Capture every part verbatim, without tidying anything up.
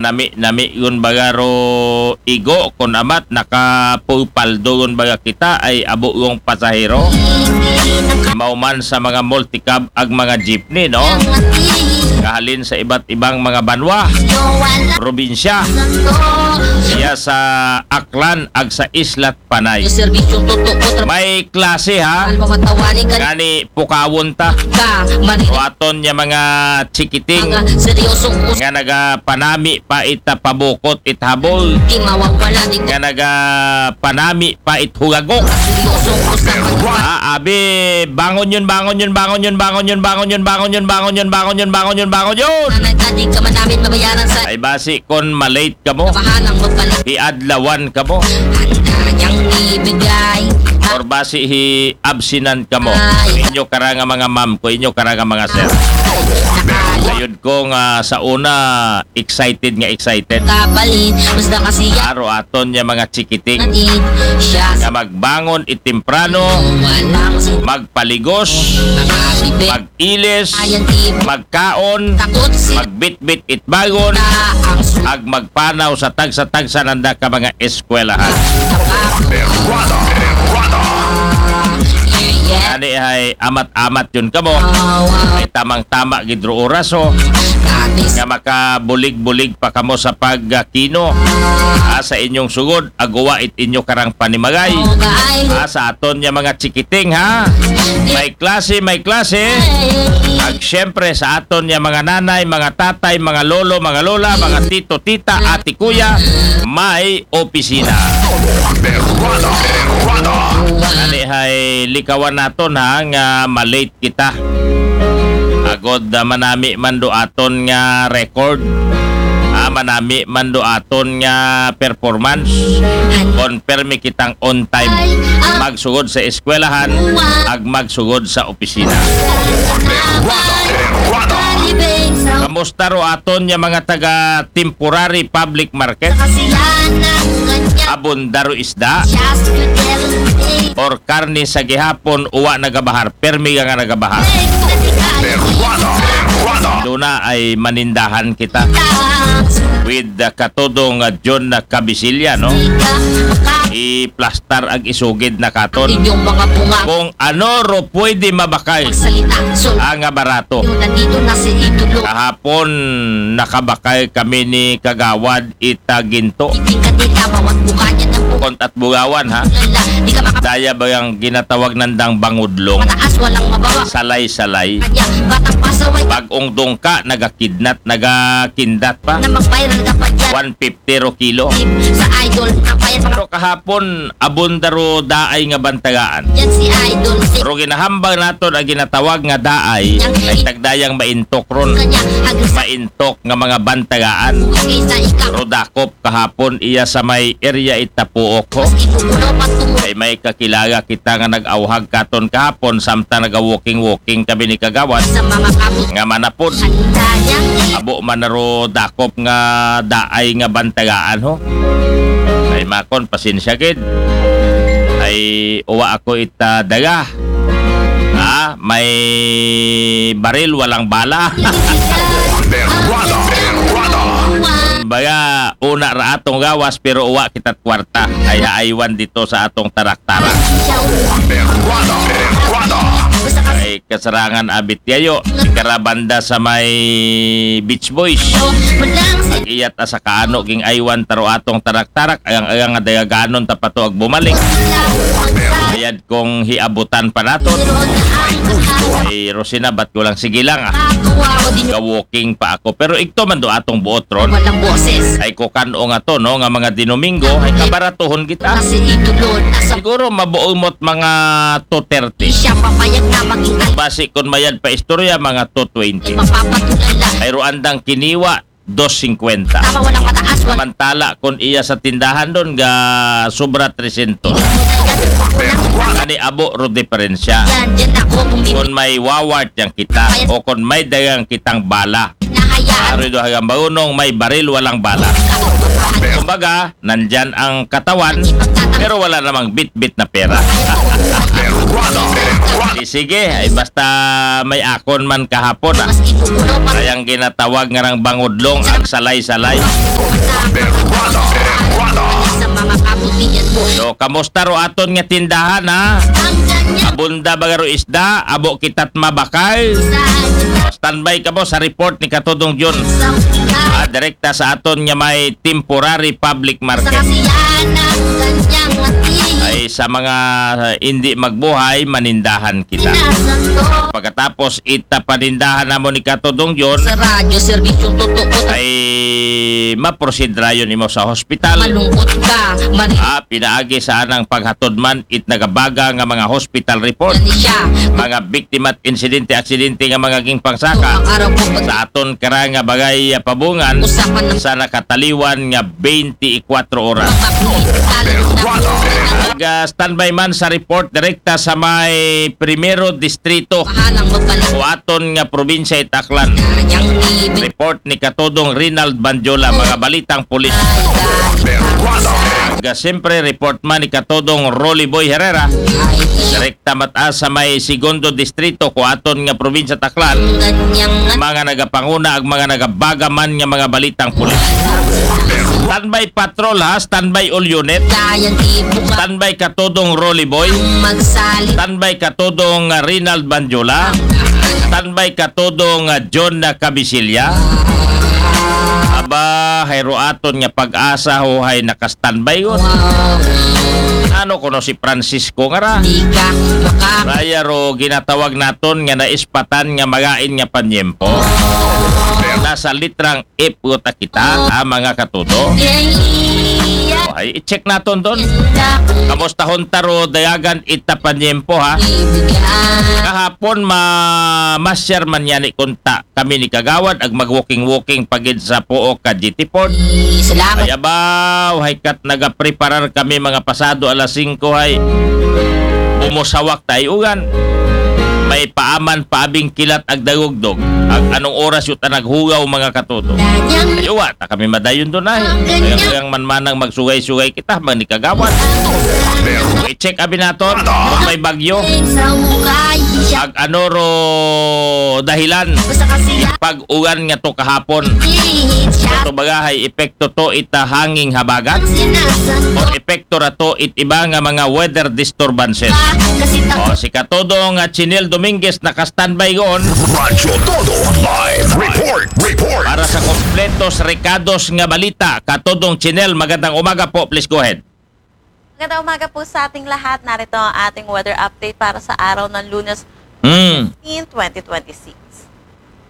Nami-nami yun baga ro igo, kun amat nakapupaldo yun baga kita ay abo yung pasahero. Mauman sa mga multicab ag mga jeepney, no? Kahalin sa iba't ibang mga banwa, probinsya, siya sa Aklan ag sa Isla Panay. May klase, ha? Ngani pukawon ta. Waton niya mga chikiting nga nagapanami pa it pabukot it habol. Nga nagapanami pa it hugagok. Ah, abi, bangon yun, bangon yun, bangon yun, bangon yun, bangon yun, bangon yun, bangon yun, bangon yun, bangon yun, bangon yun. Ay basi kon malate kamo, iadlawan kamo. Or basi hi absinan kamo. Inyo kara nga mga ma'am ko, inyo kara nga mga sir. Ayod ko nga sa una, excited nga excited. Aro aton niya mga chikiting nga magbangon it temprano, magpaligos, mag ilis, magkaon, magbitbit it bagon, ag magpanaw sa tagsa-tagsa nanda ka mga eskwelahan. Ani ay amat-amat yun kamo. Ay tamang-tama gid ro oras, oh, nga makabulig-bulig pa kamo sa pagkino, ah, sa inyong sugod, aguwa it inyo karang panimagay. Ah, sa aton niya mga chikiting, ha? May klase, may klase. Ag syempre sa aton niya mga nanay, mga tatay, mga lolo, mga lola, mga tito, tita, ate, kuya, may opisina. Ani hay likawan naton, ha, nga malate kita. Agod, ah, manami man do aton nga record. Ah, manami man do aton nga performance. Kon permi kitang on time. Magsugod sa eskwelahan, ag magsugod sa opisina. Kamusta ro aton niya mga taga temporary public market? Abunda ro isda? Or karne sa gihapon, uwa nagabahar? Permi nga nagabahar. Duna ay manindahan kita with, uh, katodong, uh, John na Kabisilya, no? Iplastar ag isugid na katon. Kung ano ro pwede mabakay ang, ah, barato. Kahapon, nakabakay kami ni Kagawad ita ginto. Kontat bugawan, ha? Daya ba yung ginatawag nandang bangudlong? Salay-salay. Pag-ong dungka, nagakidnat, nagakindat pa. One fifty ro kilo. Pero kahapon, abunda ro daay nga bantagaan. Ro ginahambang naton ang ginatawag nga daay, ay tagdayang maintok ron. Maintok nga mga bantagaan. Ro dakop kahapon iya sa may area ita Puok, ho. Ay may kakilala kita nga nag-awhag katon kahapon, samtang naga-walking-walking kami ni Kagawad. Nga manapod. Abo man na ro dakop nga daay nga bantagaan, ho. Ay makon, pasensya gid. Ay uwa ako ita daga. Ha? May baril, walang bala. Baga, una ra atong gawas, pero uwa kita't kwarta. Ay haaywan dito sa atong tarak-tarak. Ay kasarangan abit yayo. Karabanda sa may Beach Boys. Ag-iyat asa kaano ging aywan taro atong tarak-tarak, ayang-ayang nga dagaganon ta pa to ag bumalik. Mayad kong hiabutan pa naton. Ay, Rosina, ba't ko lang, sige lang, ah. Ga-walking pa ako. Pero igto man do atong buot ron. Ay, kukan-o nga to, no, nga mga Dinomingo, ay kabaratuhon kita. Siguro mabuo mo't mga two thirty. Basi kung mayad pa istorya, mga two twenty. Ay, ro andang kiniwa, dos cincuenta. Samantala, kung iya sa tindahan doon, ga sobra trescientos. Ani abo ro diferensya. Kung may wawart yang kita, o kung may dagang kitang bala. Aroy do hagang bagunong, may baril, walang bala. Kumbaga, nandyan ang katawan, pero wala namang bit-bit na pera. Di sige, ay basta may akon man kahapon, ah. Kayang ginatawag nga rang bangudlong ang salay-salay. So, kamusta ro aton nga tindahan, ha? Abunda ba ro isda? Abo kita't mabakal? Standby kamo sa report ni Katodong Jun. Ah, direkta sa aton nga may temporary public market. Ay sa mga, ah, hindi magbuhay, manindahan kita. Pagkatapos, ita panindahan namo ni Katodong Jun, ay maproceed rayon imo sa hospital. Ah, pinaagi sa anang paghatod man, it nagabaga nga mga hospital report. Mga biktima at insidente, aksidente nga mga gingpangsaka sa aton kara nga bagay, ah, pabungan sa nakataliwan nga twenty-four oras. Nag, ah, standby man sa report direkta sa may Primero Distrito o aton nga probinsya, it Aklan. Report ni Katodong Rinald Banjola, mga balitang pulis. Nag, ah, siyempre, report man ni Katodong Rolly Boy Herrera. Direkta mataas sa may Segundo Distrito ko aton nga probinsya, it Aklan. Mga nagapanguna ag mga nagabaga man nga mga balitang pulis. Standby patrol, ha, standby all unit. Standby Katodong Rolly Boy. Standby Katodong, ah, Rinald Banjola. Standby Katodong, ah, John, ah, Cabisilla. Aba, hay ro aton nga Pag-asa ho hay naka-standby gud. Ano kuno si Francisco nga ra? Raya ro ginatawag naton nga naispatan nga magain nga panyempo. Nasa litrang F gud ta kita, ha, mga katodo. Ay, i-check naton don. Kamusta hon ta ro dayagan ita panyempo, ha? Kahapon ma masyar man yani kunta kami ni Kagawad ag mag-walking-walking pa gid sa Pook ka G T Port. Ay, salamat. Ay, abaw, hay kat nagapreparar kami mga pasado alas singko, hay. Bumusawak tayo ugan. May paaman paabing kilat ag dagugdog. Ag anong oras yuta naghugaw, mga katodo? Ay, uwa, ta kami madayon don, ay. Kaya, kaya man manang magsugay-sugay kita, mga ni Kagawad. I-check abi naton, kung may bagyo. Ag ano ro dahilan? Pag-ulan nga to kahapon. Ito baga hay epekto to ita hanging habagat? O epekto ra to it iba nga mga weather disturbances? O, si Katodo nga Chinel Dominguez naka-standby goon. Radyo Todo Live Report. Report. Para sa kompletos rekados nga balita, Katodong Chinel, magandang umaga po. Please go ahead. Magandang umaga po sa ating lahat. Narito ang ating weather update para sa araw ng Lunes, Mm. fifteen, twenty twenty-six.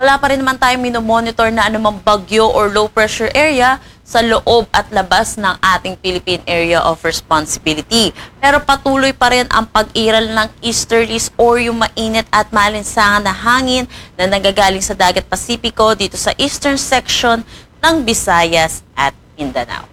Wala pa rin naman tayong minomonitor na anumang bagyo or low pressure area sa loob at labas ng ating Philippine Area of Responsibility. Pero patuloy pa rin ang pag-iral ng easterlies or yung mainit at maalinsangan na hangin na nanggagaling sa Dagat Pasipiko dito sa eastern section ng Visayas at Mindanao.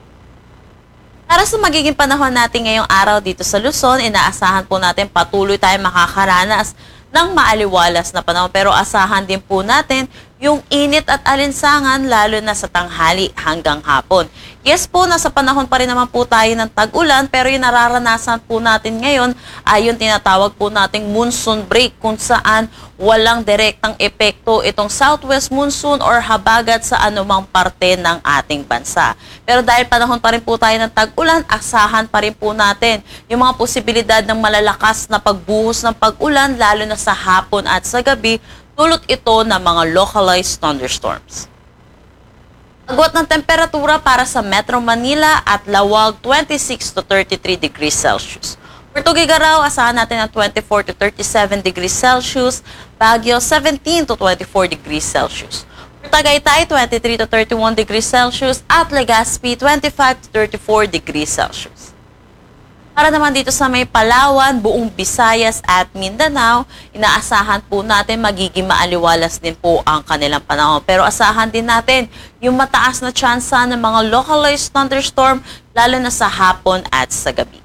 Para sa magiging panahon natin ngayong araw dito sa Luzon, inaasahan po natin patuloy tayong makakaranas ng maaliwalas na panahon. Pero asahan din po natin yung init at alinsangan, lalo na sa tanghali hanggang hapon. Yes po, nasa panahon pa rin naman po tayo ng tag-ulan, pero yung nararanasan po natin ngayon ay yung tinatawag po nating monsoon break, kung saan walang direktang epekto itong southwest monsoon or habagat sa anumang parte ng ating bansa. Pero dahil panahon pa rin po tayo ng tag-ulan, asahan pa rin po natin yung mga posibilidad ng malalakas na pagbuhos ng pag-ulan, lalo na sa hapon at sa gabi, dulot ito ng mga localized thunderstorms. Agwat ng temperatura para sa Metro Manila at Laoag, twenty-six to thirty-three degrees Celsius. For Tuguegarao, asahan natin ang twenty-four to thirty-seven degrees Celsius, Baguio, seventeen to twenty-four degrees Celsius. For Tagaytay, twenty-three to thirty-one degrees Celsius, at Legazpi, twenty-five to thirty-four degrees Celsius. Para naman dito sa may Palawan, buong Visayas at Mindanao, inaasahan po natin magiging maaliwalas din po ang kanilang panahon. Pero asahan din natin yung mataas na tsansa ng mga localized thunderstorm, lalo na sa hapon at sa gabi.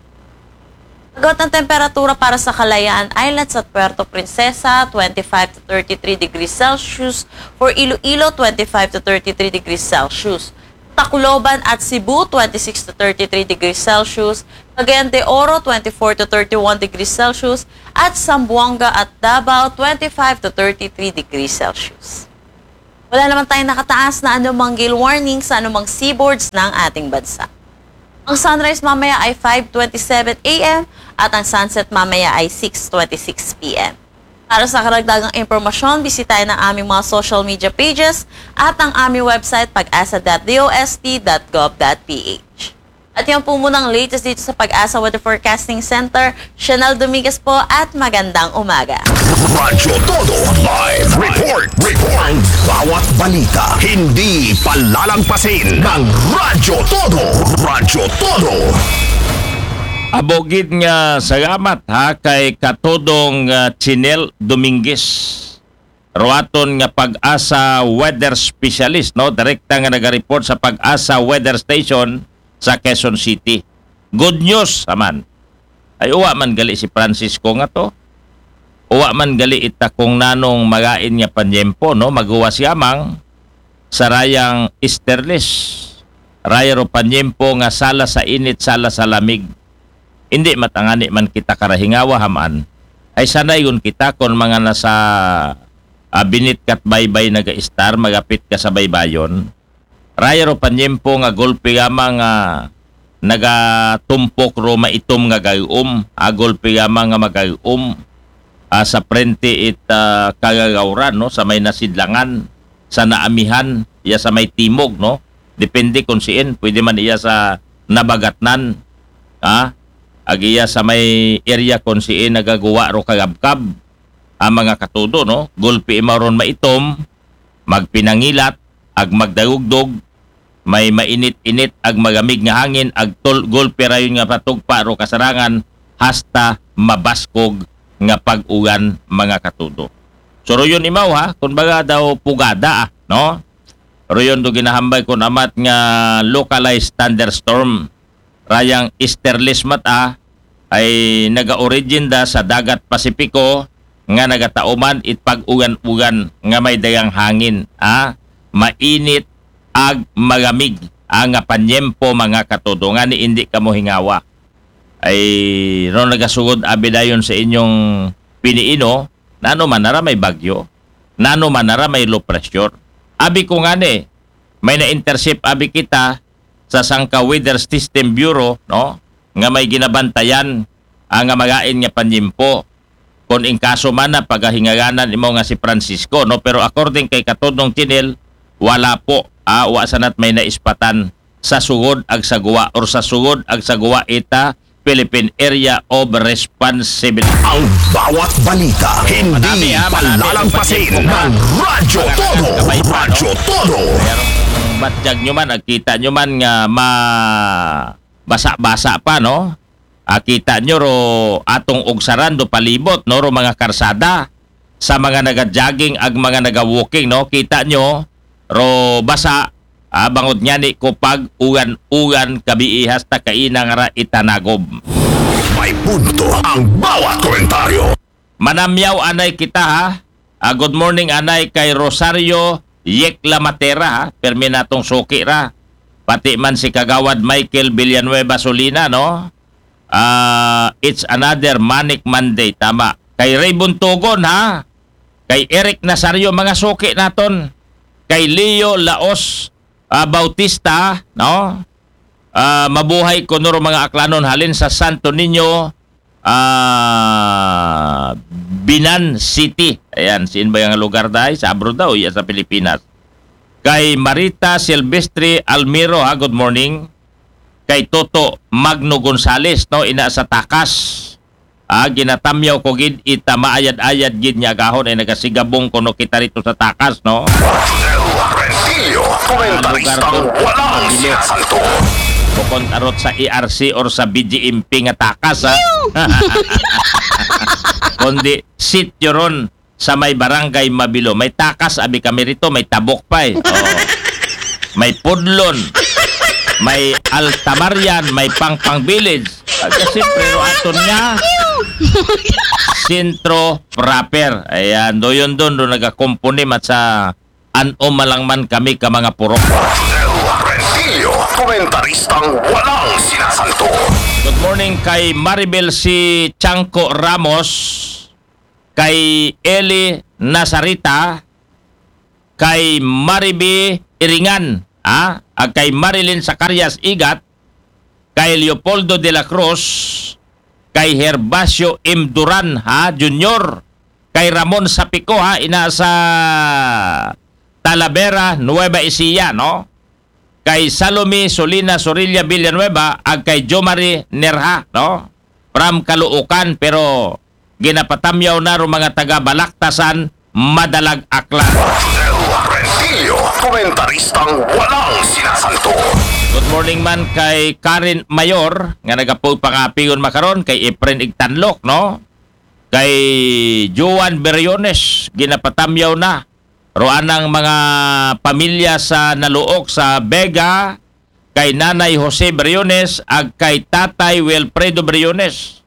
Agwat ng temperatura para sa Kalayaan Islands at Puerto Princesa, twenty-five to thirty-three degrees Celsius. For Iloilo, twenty-five to thirty-three degrees Celsius. Tacloban at Cebu, twenty-six to thirty-three degrees Celsius, Cagayan de Oro, twenty-four to thirty-one degrees Celsius, at Zamboanga at Davao, twenty-five to thirty-three degrees Celsius. Wala naman tayong nakataas na anumang gale warning sa anumang seaboards ng ating bansa. Ang sunrise mamaya ay five twenty-seven a m at ang sunset mamaya ay six twenty-six p m. Para sa karagdagang impormasyon, bisitahin ang aming mga social media pages at ang aming website, pag-asa.dost.gov.ph. At yan po muna ang latest dito sa Pag-asa Weather Forecasting Center. Chanel Dominguez po at magandang umaga. Radyo Todo Live Report. Report. Ang bawat balita, hindi palalagpasin ng Radyo Todo. Radyo Todo. Abogid nga salamat ha kay Katodong uh, Chinel Dominguez. Ruaton nga Pag-asa weather specialist, no? Direkta nga naga-report sa Pag-asa Weather Station sa Quezon City. Good news, aman. Ay uwa man gali si Francisco nga to. Uwa man gali ita kung nanong magain nga panyempo, no? Maguwas yamang sa rayang easterlies. Raya ro panyempo nga sala sa init, sala sa lamig. Hindi matangani man kita karahingawa haman. Ay sanayon kita kon mga nasa ah, binit kat baybay naga-istar, magapit ka sa baybayon. Raya ro panyempo nga golpe yama nga nagatumpok ro maitom nga gayom, ah, golpe yama nga magayom. Ah, sa prente it ah, kagagawran, no, sa may nasidlangan, sa naamihan, iya sa may timog, no. Depende kung siin, pwede man iya sa nabagatnan, ah, ag iya sa may area kung siin nagaguwa ro kagabkab. Ang mga katudo, no, golpe imaw ron maitom, magpinangilat, ag magdayugdog, may mainit-init ag magamig nga hangin, ag tol golpe rayon nga patugpa ro kasarangan hasta mabaskog nga pag-uwan, mga katudo. So ruyon imaw ha, kun baga daw pugada ah, no? Ruyon do ginahambay kun amat nga localized thunderstorm. Rayang easterlies mat ah, ay naga-origin da sa dagat Pasipiko nga nagatauman it pag-ugan-ugan nga may dayang hangin, ah, mainit ag magamig, ah, nga panyempo, mga katudo, nga ni indi kamo hingawa. Ay ron nagasugod abi dayon sa inyong piniino, nano man nara may bagyo, nano man nara may low pressure. Abi ko nga ni, may na-intercept abi kita sa sangka Weather System Bureau, no, nga may ginabantayan ang nga magain nga panyempo. Kung in kaso man na pagahingaganan imo nga si Francisco, no, pero according kay Katodong Chinel, wala po, ah, wa sanat may naispatan sa sugod ag sa guwa or sa sugod ag sa guwa ita Philippine Area of Responsibility. Ang bawat balita, hindi Manami, ha, manami. Palalagpasin Manami. Ng Radyo Todo. Manami. Radyo Todo. Pero batyag nyo man, agkita nyo man nga ma basa-basa pa, no? Akita nyo ro atong ugsaran do palibot, no, ro mga karsada sa mga naga-jogging ag mga naga-walking, no? Kita nyo ro basa, ah, bangod nga ni ko pag-ugan-ugan kabiihas ta kainang ra itanagob. May punto ang bawat komentaryo. Manamyaw anay kita ha. Ah, good morning anay kay Rosario Yek Lamatera ha. Permi natong suki ra. Pati man si Kagawad Michael Villanueva Solina, no? Ah, it's another Manic Monday, tama. Kay Ray Buntugon ha. Kay Eric Nazario, mga suki naton. Kay Leo Laos ah, Bautista, no? Ah, mabuhay ko nuro mga aklanon halin sa Santo Niño, ah, Binan City. Ayan, siin ba yung lugar dahil? Sa abroad daw, iya sa Pilipinas. Kay Marita Silvestre Almiro, ha, good morning. Kay Toto Magno Gonzales, no, ina sa Takas. Ah, ginatamyaw ko gid ita maayad-ayad gid nga agahon ay nagasigabong kuno kita rito sa Takas, no? Rentillo, komentaristang walang sinasalto. Bukon arot sa E R C or sa B J M P nga Takas, ha? Kundi sityo ron sa may barangay Mabilo. May Takas, abi kami rito, may Tabok pa eh. Oo. May Pudlon, may Altamarian, may Pangpang Village. At siyempre, ro aton nga sentro proper. Ayan, doyon doon, doon nagakumpuni mat sa anom malang man kami ka mga purok. Komentaristang walang sinasanto. Good morning kay Maribel si Chanco Ramos, kay Eli Nazarita, kay Maribi Iringan, ha? Ag kay Marilyn Zacarias Igat, kay Leopoldo de la Cruz, kay Herbacio M. Duran, ha, Junior, kay Ramon Sapico, ha, ina sa Talavera, Nueva Ecija, no? Kay Salome Solina Sorilla Villanueva, ag kay Jomari Nerha, no? From Caloocan, pero ginapatamyaw na ro mga taga Balaktasan, Madalag, Aklan. Rodel Rentillo, komentaristang walang sinasanto. Good morning man kay Karen Mayor, nga nagapog pangapigon makaron, kay Efren Igtanlok, no? Kay Juan Beriones, ginapatamyaw na. Ro anang mga pamilya sa naluok sa Vega, kay Nanay Jose Briones, ag kay Tatay Wilfredo Briones.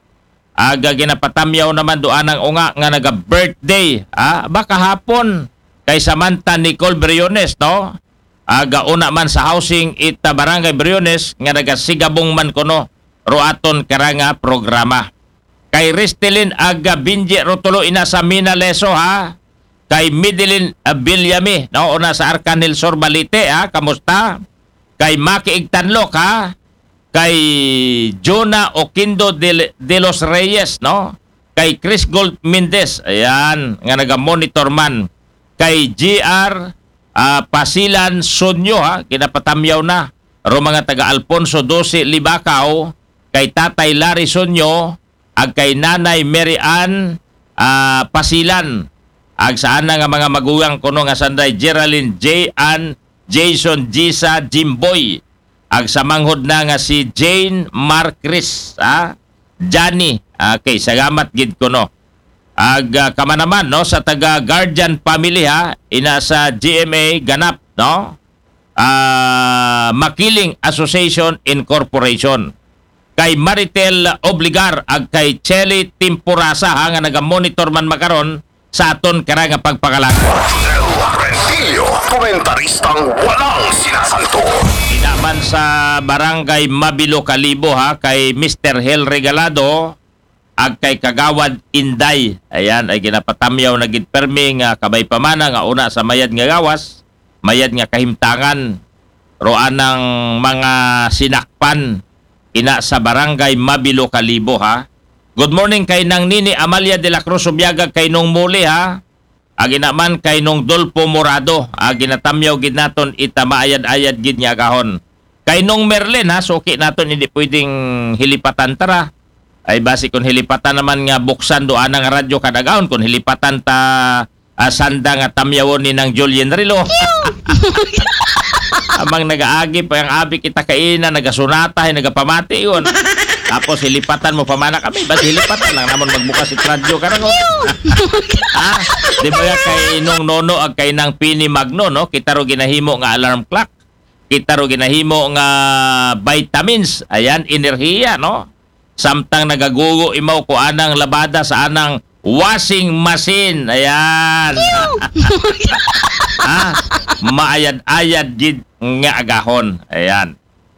Aga ginapatamyaw naman do anang unga nga naga-birthday, ah, ba kahapon, kay Samantha Nicole Briones, no? Aga una man sa housing ita Barangay Briones nga nagasigabong man kuno ro aton karanga programa. Kay Ristelin aga Binji Rotulo ina sa Mina Leso, ha? Kay Mideline, ah, Villame, no? Una sa Arkanhel Sur Balite, ha? Kamusta? Kay Maki Igtanlok, ha? Kay Jonah Oquindo de, de los Reyes, no? Kay Chris Gold Mendez, ayan, nga naga-monitor man. Kay G R, ah, Pasilan Sonyo, ha? Ginapatamyaw na. Ro mga taga Alfonso Doce Libacao, kay Tatay Larry Sonyo, ag kay Nanay Mary Ann, ah, Pasilan. Ag sa ana nga mga magugang kuno nga sanday Geraldine J. Ann, Jason, Gisa, Jimboy. Ag sa manghod na nga si Jane Marcris, ha? Johnny, okay, salamat gid kuno. Ag, ah, kamanaman, no, sa taga guardian family, ha, ina sa G M A Ganap, no? Ah, Makiling Association Incorporation. Kay Maritel Obligar ag kay Chelly Timporasa, ha, nga naga-monitor man makaron sa aton karanga pagpangalagad. Rodel Rentillo, komentaristang walang sinasanto. Inaman sa Barangay Mabilo Kalibo, ha, kay Mister Hel Regalado, ag kay Kagawad Inday. Ayan, ay ginapatamyaw na gid permi nga kabay pamana nga una sa mayad nga gawas, mayad nga kahimtangan, ro anang mga sinakpan, ina sa Barangay Mabilo Kalibo, ha. Good morning kay Nang Nini Amalia de la Cruz Subiaga, kay Nong Muli, ha. Ag ina man kay Nong Dolpo Morado, ag ginatamyaw gid naton ita maayad-ayad gid nga agahon. Kay Nong Merlin, ha, suki naton, hindi pwedeng hilipatan tara. Ay basi kung hilipatan naman nga buksan do anang radyo kadagahon, kung hilipatan ta, ah, sanda nga tamyawon ni Nang Julien Rilo. Amang nagaagi pa ang abi kita kaina, nagasunata, ay nagapamati yun. Tapos hilipatan mo pa mana kami, basi hilipatan lang namon magbukas it radyo karang. Ha? Di ba nga kay Nong Nono ag kay Nang Pini Magno, no? Kita ro ginahimo nga alarm clock. Kita ro ginahimo nga vitamins. Ayan, enerhiya, no? Samtang nagagugo imaw ko anang labada sa anang washing machine. Ayan. Ha? Maayad-ayad gid nga agahon. Ayan.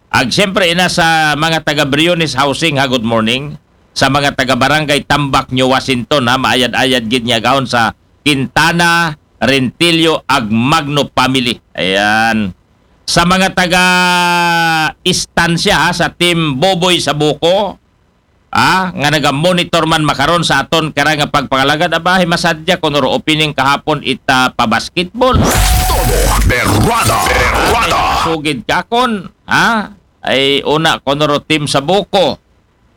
Ag siyempre, ina sa mga taga Briones Housing, ha, good morning. Sa mga taga Barangay Tambak, New Washington, ha, maayad-ayad gid nga agahon sa Quintana, Rentillo, ag Magno family. Ayan. Sa mga taga Estancia, ha, sa Team Boboy sa Buko, ah, nga naga-monitor man makaron sa aton karang nga pagpangalagad, aba, himasadya kuno ro opening kahapon ita pa basketball. Todo berwada, berwada. Sugid kakon, ha? Ay una kuno ro team sa Buko,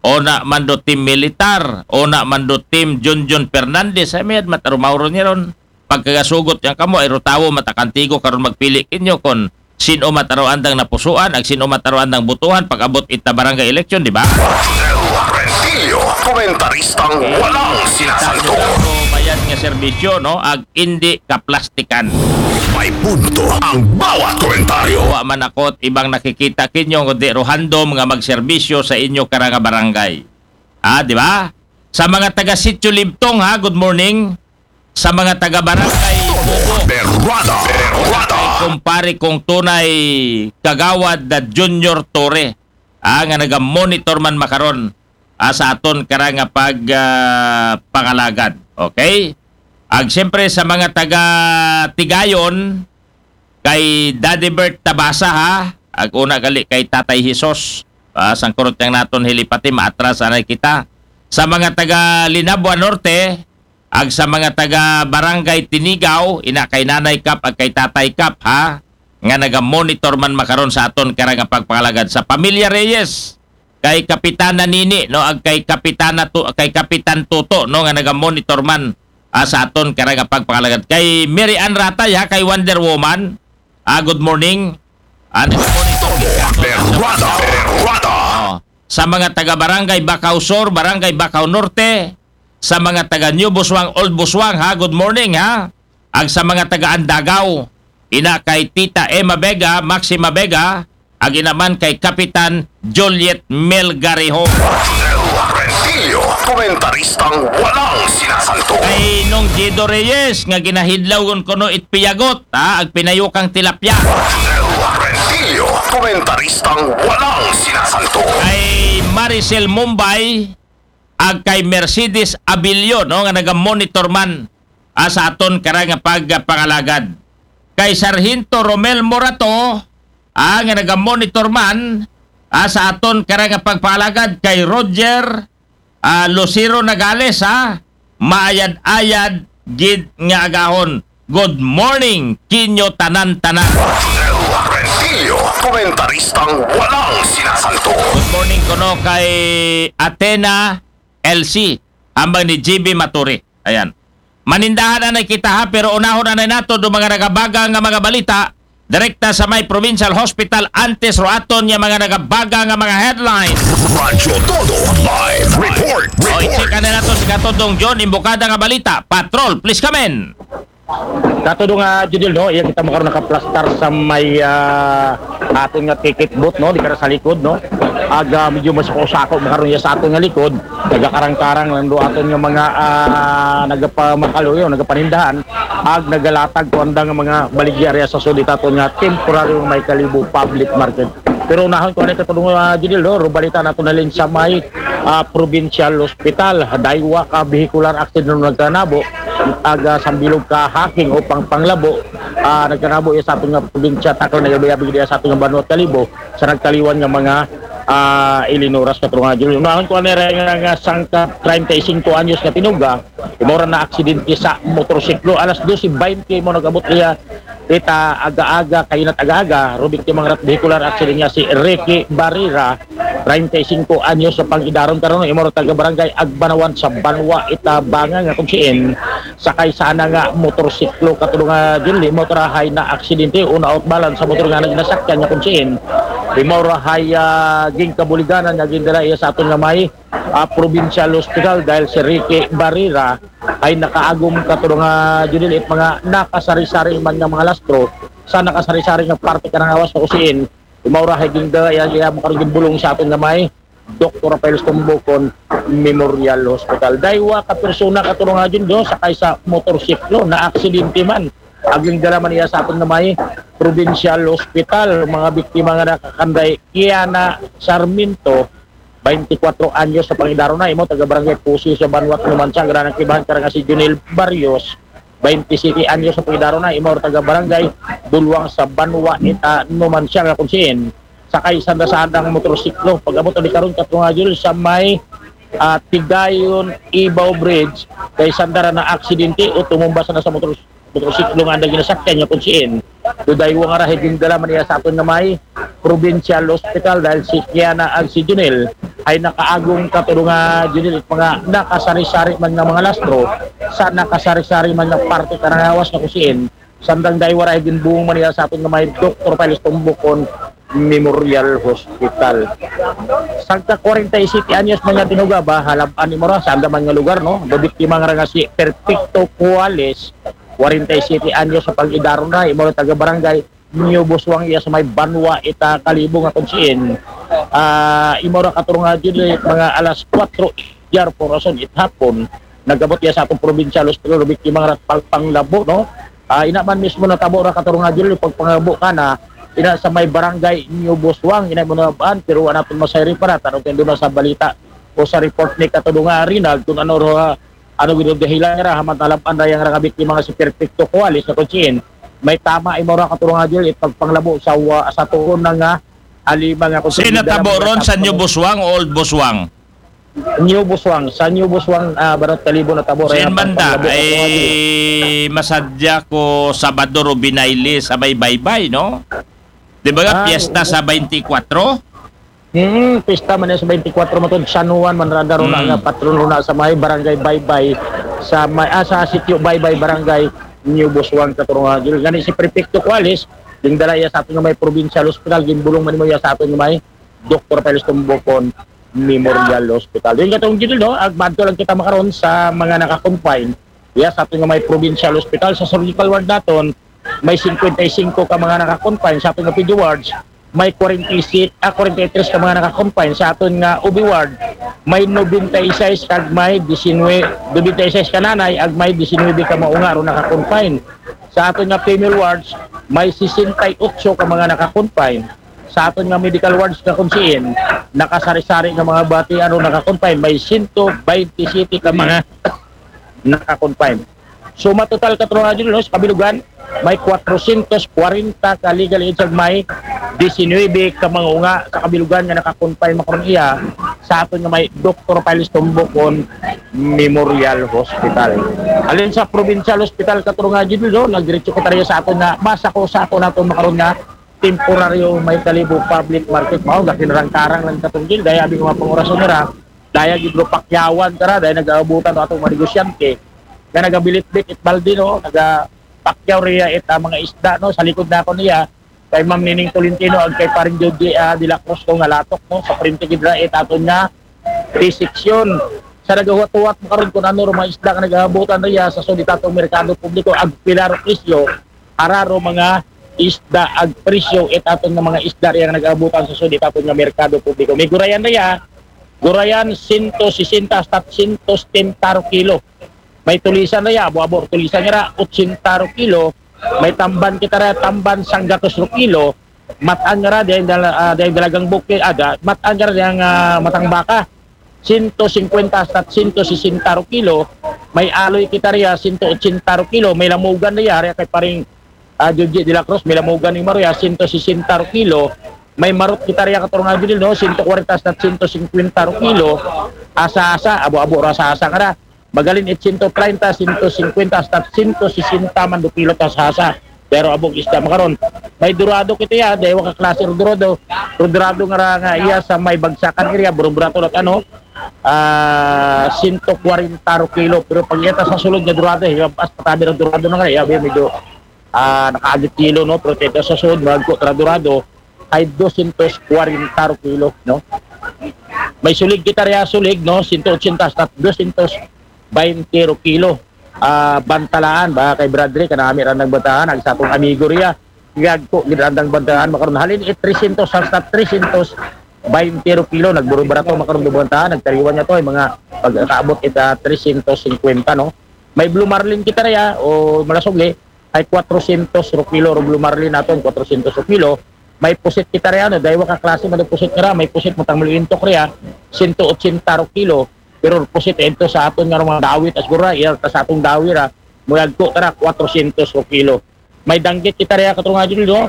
una man do team militar, una man do team Junjun Fernandez, ay mayad mat aro mauro niya ron. Pagkagasugot yang kamo, ay ro tawo matakantigo karon magpili kinyo kon sin-o mat aro andang napusuan, ag sin-o mat aro andang butuhan pag-abot ita barangay eleksyon, di ba? Rodel Rentillo, komentaristang walang sinasanto. Mayad nga serbisyo, no? Ag indi kaplastikan. May punto ang bawat komentaryo. Wa man ako't ibang nakikita kinyo, kundi ro handom nga magserbisyo sa inyo karang nga barangay. Ah, di ba? Sa mga taga Sitio Libtong, ha, good morning. Sa mga taga Barangay Bubo. Berwada, berwada. kumpare kong tunay, Kagawad na Junior Torre, ah, nga naga-monitor man makaron, ah, sa aton karang nga pag, ah, pangalagad. Okay? Ag siyempre sa mga taga Tigayon, kay Daddy Bert Tabasa, ha, ag una gali kay Tatay Jesus, ah, sangkurot yang naton hilipati, maatras anay kita. Sa mga taga Linabua Norte, ag sa mga taga Barangay Tinigaw, ina kay Nanay Kap ag kay Tatay Kap, ha, nga naga-monitor man makaron sa aton karang nga pagpangalagad. Sa Pamilya Reyes, kay Kapitana Nini, no, ag kay Kapitana Tu-, kay Kapitan Tuto, no, nga naga-monitor man, ah, sa aton karang nga pagpangalagad. Kay Mary Ann Ratay, ha, kay Wonder Woman, ah, good morning. Ah, naga-monitor. Berwada, berwada. Oh, sa mga taga Barangay Bacau Sur, Barangay Bacau Norte, sa mga taga New Busuang, Old Busuang, ha, good morning, ha. Ag sa mga taga Andagaw, ina kay Tita Emma Vega, Maxima Vega, ag ina man kay Kapitan Juliet Melgarejo. Rentillo, komentaristang walang sinasanto. Kay Nong Gido Reyes, nga ginahidlaw kuno it piyagot, ha, ag pinayukang tilapia. Rentillo, komentaristang walang sinasanto. Kay Maricel Mumbay, ag kay Mercedes Abilio, no, nga naga-monitor man, ah, sa aton karang nga pagpangalagad. Kay Sargento Romel Morato, ah, nga naga-monitor man, ah, sa aton karang nga pagpangalagad. Kay Roger, ah, Lucero Nagales, ha, maayad-ayad gid nga agahon. Good morning kinyo tanan-tanan. Rentillo, komentaristang walang sinasanto. Good morning kuno kay Athena L C, hambal ni G B Maturi. Ayan. Manindahan anay kita, ha, pero unahon anay nato do mga nagabaga nga mga balita direkta sa may Provincial Hospital antes ro aton nga mga nagabaga nga mga headlines. Radyo Todo Live Report. O, i-check anay nato si Katudong John Imbukada nga balita. Patrol, please come in. Katudong, ah, Judil, no, iya kita makaron nakaplastar sa may, ah, aton nga ticket booth, no, di ka sa likod, no. Ag, ah, medyo mas usako makaron iya sa aton nga likod, nagakarang-karang lang do aton nga mga, ah, nagapamakaluyo, nagapanindahan, ag nagalatag ko anda nga mga baligya area sa sudit aton nga temporaryong may Kalibo Public Market. Pero unahon ko anay Katudong, ah, Judil, no, rubalita nato na lin sa may, ah, Provincial Hospital. Daywa ka vehicular accident ang nagkanabo, ag, ah, sambilog ka hacking o pang panglabo, ah, nagkanabo iya sa aton nga probinsya, takal na yabi-yabi diya sa aton nga banwa Kalibo, sa nagtaliwan nga mga, ah, ilinuras Katudong, Judil. Unahon ko anay nga, nga sangka treinta y cinco anyos nga tinuga, imo ra na aksidente sa motorsiklo. Alas doce veinte mo nag-abot iya ita aga-aga, kainat aga-aga, rubik ti mangarat vehicular accident nga si Ricky Barrera, treinta y cinco anyos sa pang-idaron karon, imo ra taga Barangay Agbanawan sa Banwa, ita Banga nga kung siin, sakay sana nga motorsiklo Katudong, ah, Judil, imo ra hay na aksidente, una out balance sa motor nga naginasakyan nga kung siin, imo ra hay, ah, gingkabuliganan nga gindala iya sa aton nga may, ah, Provincial Hospital dahil si Ricky Barrera ay nakaagom Katudong, ah, Judil, it mga nakasari-sari man nga mga lastro sa nakasari-sari nga parte karang awas na usiin. Imo ra hay gingda iya, iya makarong bulong sa aton nga may Doktor Rafael Tumbukon Memorial Hospital. Daywa ka persona Katudong, Judil, sakay sa motorsiklo na aksidente man. Aging dala man iya sa aton nga may Provincial Hospital, mga biktima nga nakakanday Kiana Sarmiento, twenty-four anyos sa pang-idaron na, imo taga Barangay Pusi sa Banwa Numancia, ag ran nagkibahan karang nga si Junil Barrios, twenty-seven anyos sa pang-idaron na, imo taga Barangay Bulwang sa Banwa, ita Numancia nga kung siin, sakay sanda sa andang motorsiklo. Pag-abot na di karon Katudong, Judil, sa may, ah, Tigayon Ibaw Bridge, kay sanda ra na aksidente o tumumba sana sa motor motorsiklo nga anda ginasakyan nga kung siin. Daywa nga ra hay gindala man iya sa aton nga may Provincial Hospital dahil si Kiana ag si Junel ay nakaagom Katudong, Junel, it mga nakasari-sari man nga mga lastro sa nakasari-sari man nga parte karang awas na kung siin. Sanda ra daywa ra hay ginbulong man iya sa aton nga may Doktor Piles Tumbukon Memorial Hospital. Sangka kwarenta y siyete anyos man nga tinuga ba, halab-an imo ra, sanda man nga lugar, no? Babiktima nga ra nga si Perfecto Cuales, kwarenta y siyete anyos sa pang-idaron na, imo ra taga Barangay New Busuang iya sa may Banwa, ita Kalibo nga kung siin. Ah, imo ra Katudong, Judil, mga alas kwatro, yar po rason it hapon, nagabot iya sa atong provincial hospital, biktima nga ra pang-, panglabo, no? Ah, ina man mismo natabo ra, Katarong Angelo, pagpangabo kana, ina sa may barangay New Busuang, ina mo na baan, pero wala natin masayri para, tanong kayo doon sa balita o sa report ni Katudunga Rinald, kung ano ro, ah, ano gino dahilan nga ra, haman talab-an ra yang ra nga biktima nga si Perfecto Cuales na kung siin. May tama imo ra, Katarong Angelo, it pagpanglabo sa, wa-, sa tuon na nga alima nga kung Sino tabo ron sa New Busuang o Old Busuang? New Busuang, sa New Busuang, ah, Barot Kalibo na tabo. Sin banda, ay masadya ko Sabado ro binayli sa may baybay, no? Di ba nga, Ah, piyesta oo. Sa twenty-four? Hmm, pista man yan sa twenty-four matod San Juan, man radaro na Mm. nga patron ro na sa may barangay Baybay, sa may, ah, sa sitio Baybay, barangay New Busuang, Katarong Angelo. Gani si Prefecto Cuales, gindala iya sa aton nga may provincial hospital, gimbulong man mo iya sa aton nga may Doktor Piles Tumbukon Memorial Hospital. Yung katong gito, no, agbanto lang kita makaron sa mga naka-confine. Iya, sa aton nga may provincial hospital, sa surgical ward naton, may fifty-five ka mga naka-confine. Sa aton nga P D wards, may forty-six, ah, forty-three ka mga naka-confine. Sa aton nga O B ward, may ninety-six kag may nineteen, ninety-six ka nanay, ag may nineteen ka maunga ro naka-confine. Sa aton nga female wards, may sixty-eight ka mga naka-confine. Sa aton nga medical wards na kung siin, nakasari-sari nga mga bati, ano, naka-confine, may sento baynte siyete ka mga naka-confine. So, matotal, Katarong Angelo, no, sa kabilugan, may kwatrosyentos kwarenta ka legal age ag may disinuybe ka mga unga sa kabilugan nga naka-confine makaron iya sa aton nga may Doktor Piles Tumbukon Memorial Hospital. Alin sa provincial hospital, Katarong Angelo, no, nagdiretso kita riya sa aton nga masako-sako naton makaron nga temporaryo may Kalibo public market. Mao, gakinarang-karang lang katong gil, daya abi nga mga pangurason nira, daya gid ro pakyawan kara, daya nag-aabutan atong mga negosyante nga nagabilit-bit it balde, no, nagapakyaw riya it, ah, mga isda, no, sa likod na ako niya, kay Ma'am Nining Tolentino, ag kay Paring Jody, ah, de la Cruz, no, nga latok, no, sa frente gid ra it aton nga P section. Sa nagahuwat-huwat makaron kung ano ro mga isda nga nag-aabutan riya sa sud it atong merkado publiko, ag pila ro presyo, ara ro mga isda ag presyo it aton nga mga isda riya nga nag-aabutan sa sud it aton nga merkado publiko. May gurayan riya, gurayan sento sesenta hasta sento setenta ro kilo. May tulisan riya, abo-abo tulisan nga ra, otsenta ro kilo. May tamban kita riya, tamban sanggatos ro kilo. Mat-an nga ra, dahil dala-, ah, dahil dalagang bukid, ah, da-, mat-an nga ra, dahil, ah, matang baka. Sento singkwenta hasta sento sesenta ro kilo. May aloy kita riya, sento otsenta ro kilo. May lamugan riya, riya kay Paring, ah, Joji de la Cruz, may lamugan ni Maria, sento sesenta ro kilo. May marot kita riya, Katarong Angelo, no, sento kwarenta hasta sento singkwenta ro kilo. Asa-asa, abo-abo ra asa-asa nga ra. Magalin it sento treinta, sento singkwenta, hasta sento sesenta man do kilo ta asa-asa. Pero abog isda makaron. May dorado kita iya, daywa ka klase ro dorado. Ro dorado nga ra nga iya sa may Bagsakan area, buruburato lat ano, ah, sento kwarenta ro kilo. Pero pag iya ta sa sulod nga dorado, iya, as patabi ro dorado na nga, iya, medyo, ah, nakaagit kilo, no? Pero kita sa sulod, magko tra dorado, ay dosyentos kwarenta ro kilo, no? May sulig kita riya, sulig, no? Sento otsenta hasta dosyentos baynte ro kilo. Ah, bantalaan ba kay Bradley, kanami ra nagbantahan, ag sa atong amigo riya. Gagko gid ra nagbantahan, makaron halin it tresyentos hasta tresyentos baynte ro kilo, nagburubarato makaron do bantahan, nagtariwan niya to, ay mga pagkaabot ita tresyentos singkwenta, no? May blue marlin kita riya, o malasugli, ay kwatrosyentos ro kilo, ro blue marlin naton, kwatrosyentos ro kilo. May pusit kita riya, no? Daywa ka klase man do pusit nga ra, may pusit mo tang maluintok riya, sento otsenta ro kilo. Pero pusit ito sa aton nga mga dawit, as gura, iya ta sa atong dawi ra, muyagko tara, kwatrosyentos ro kilo. May danggit kita riya, Katarong Angelo, no?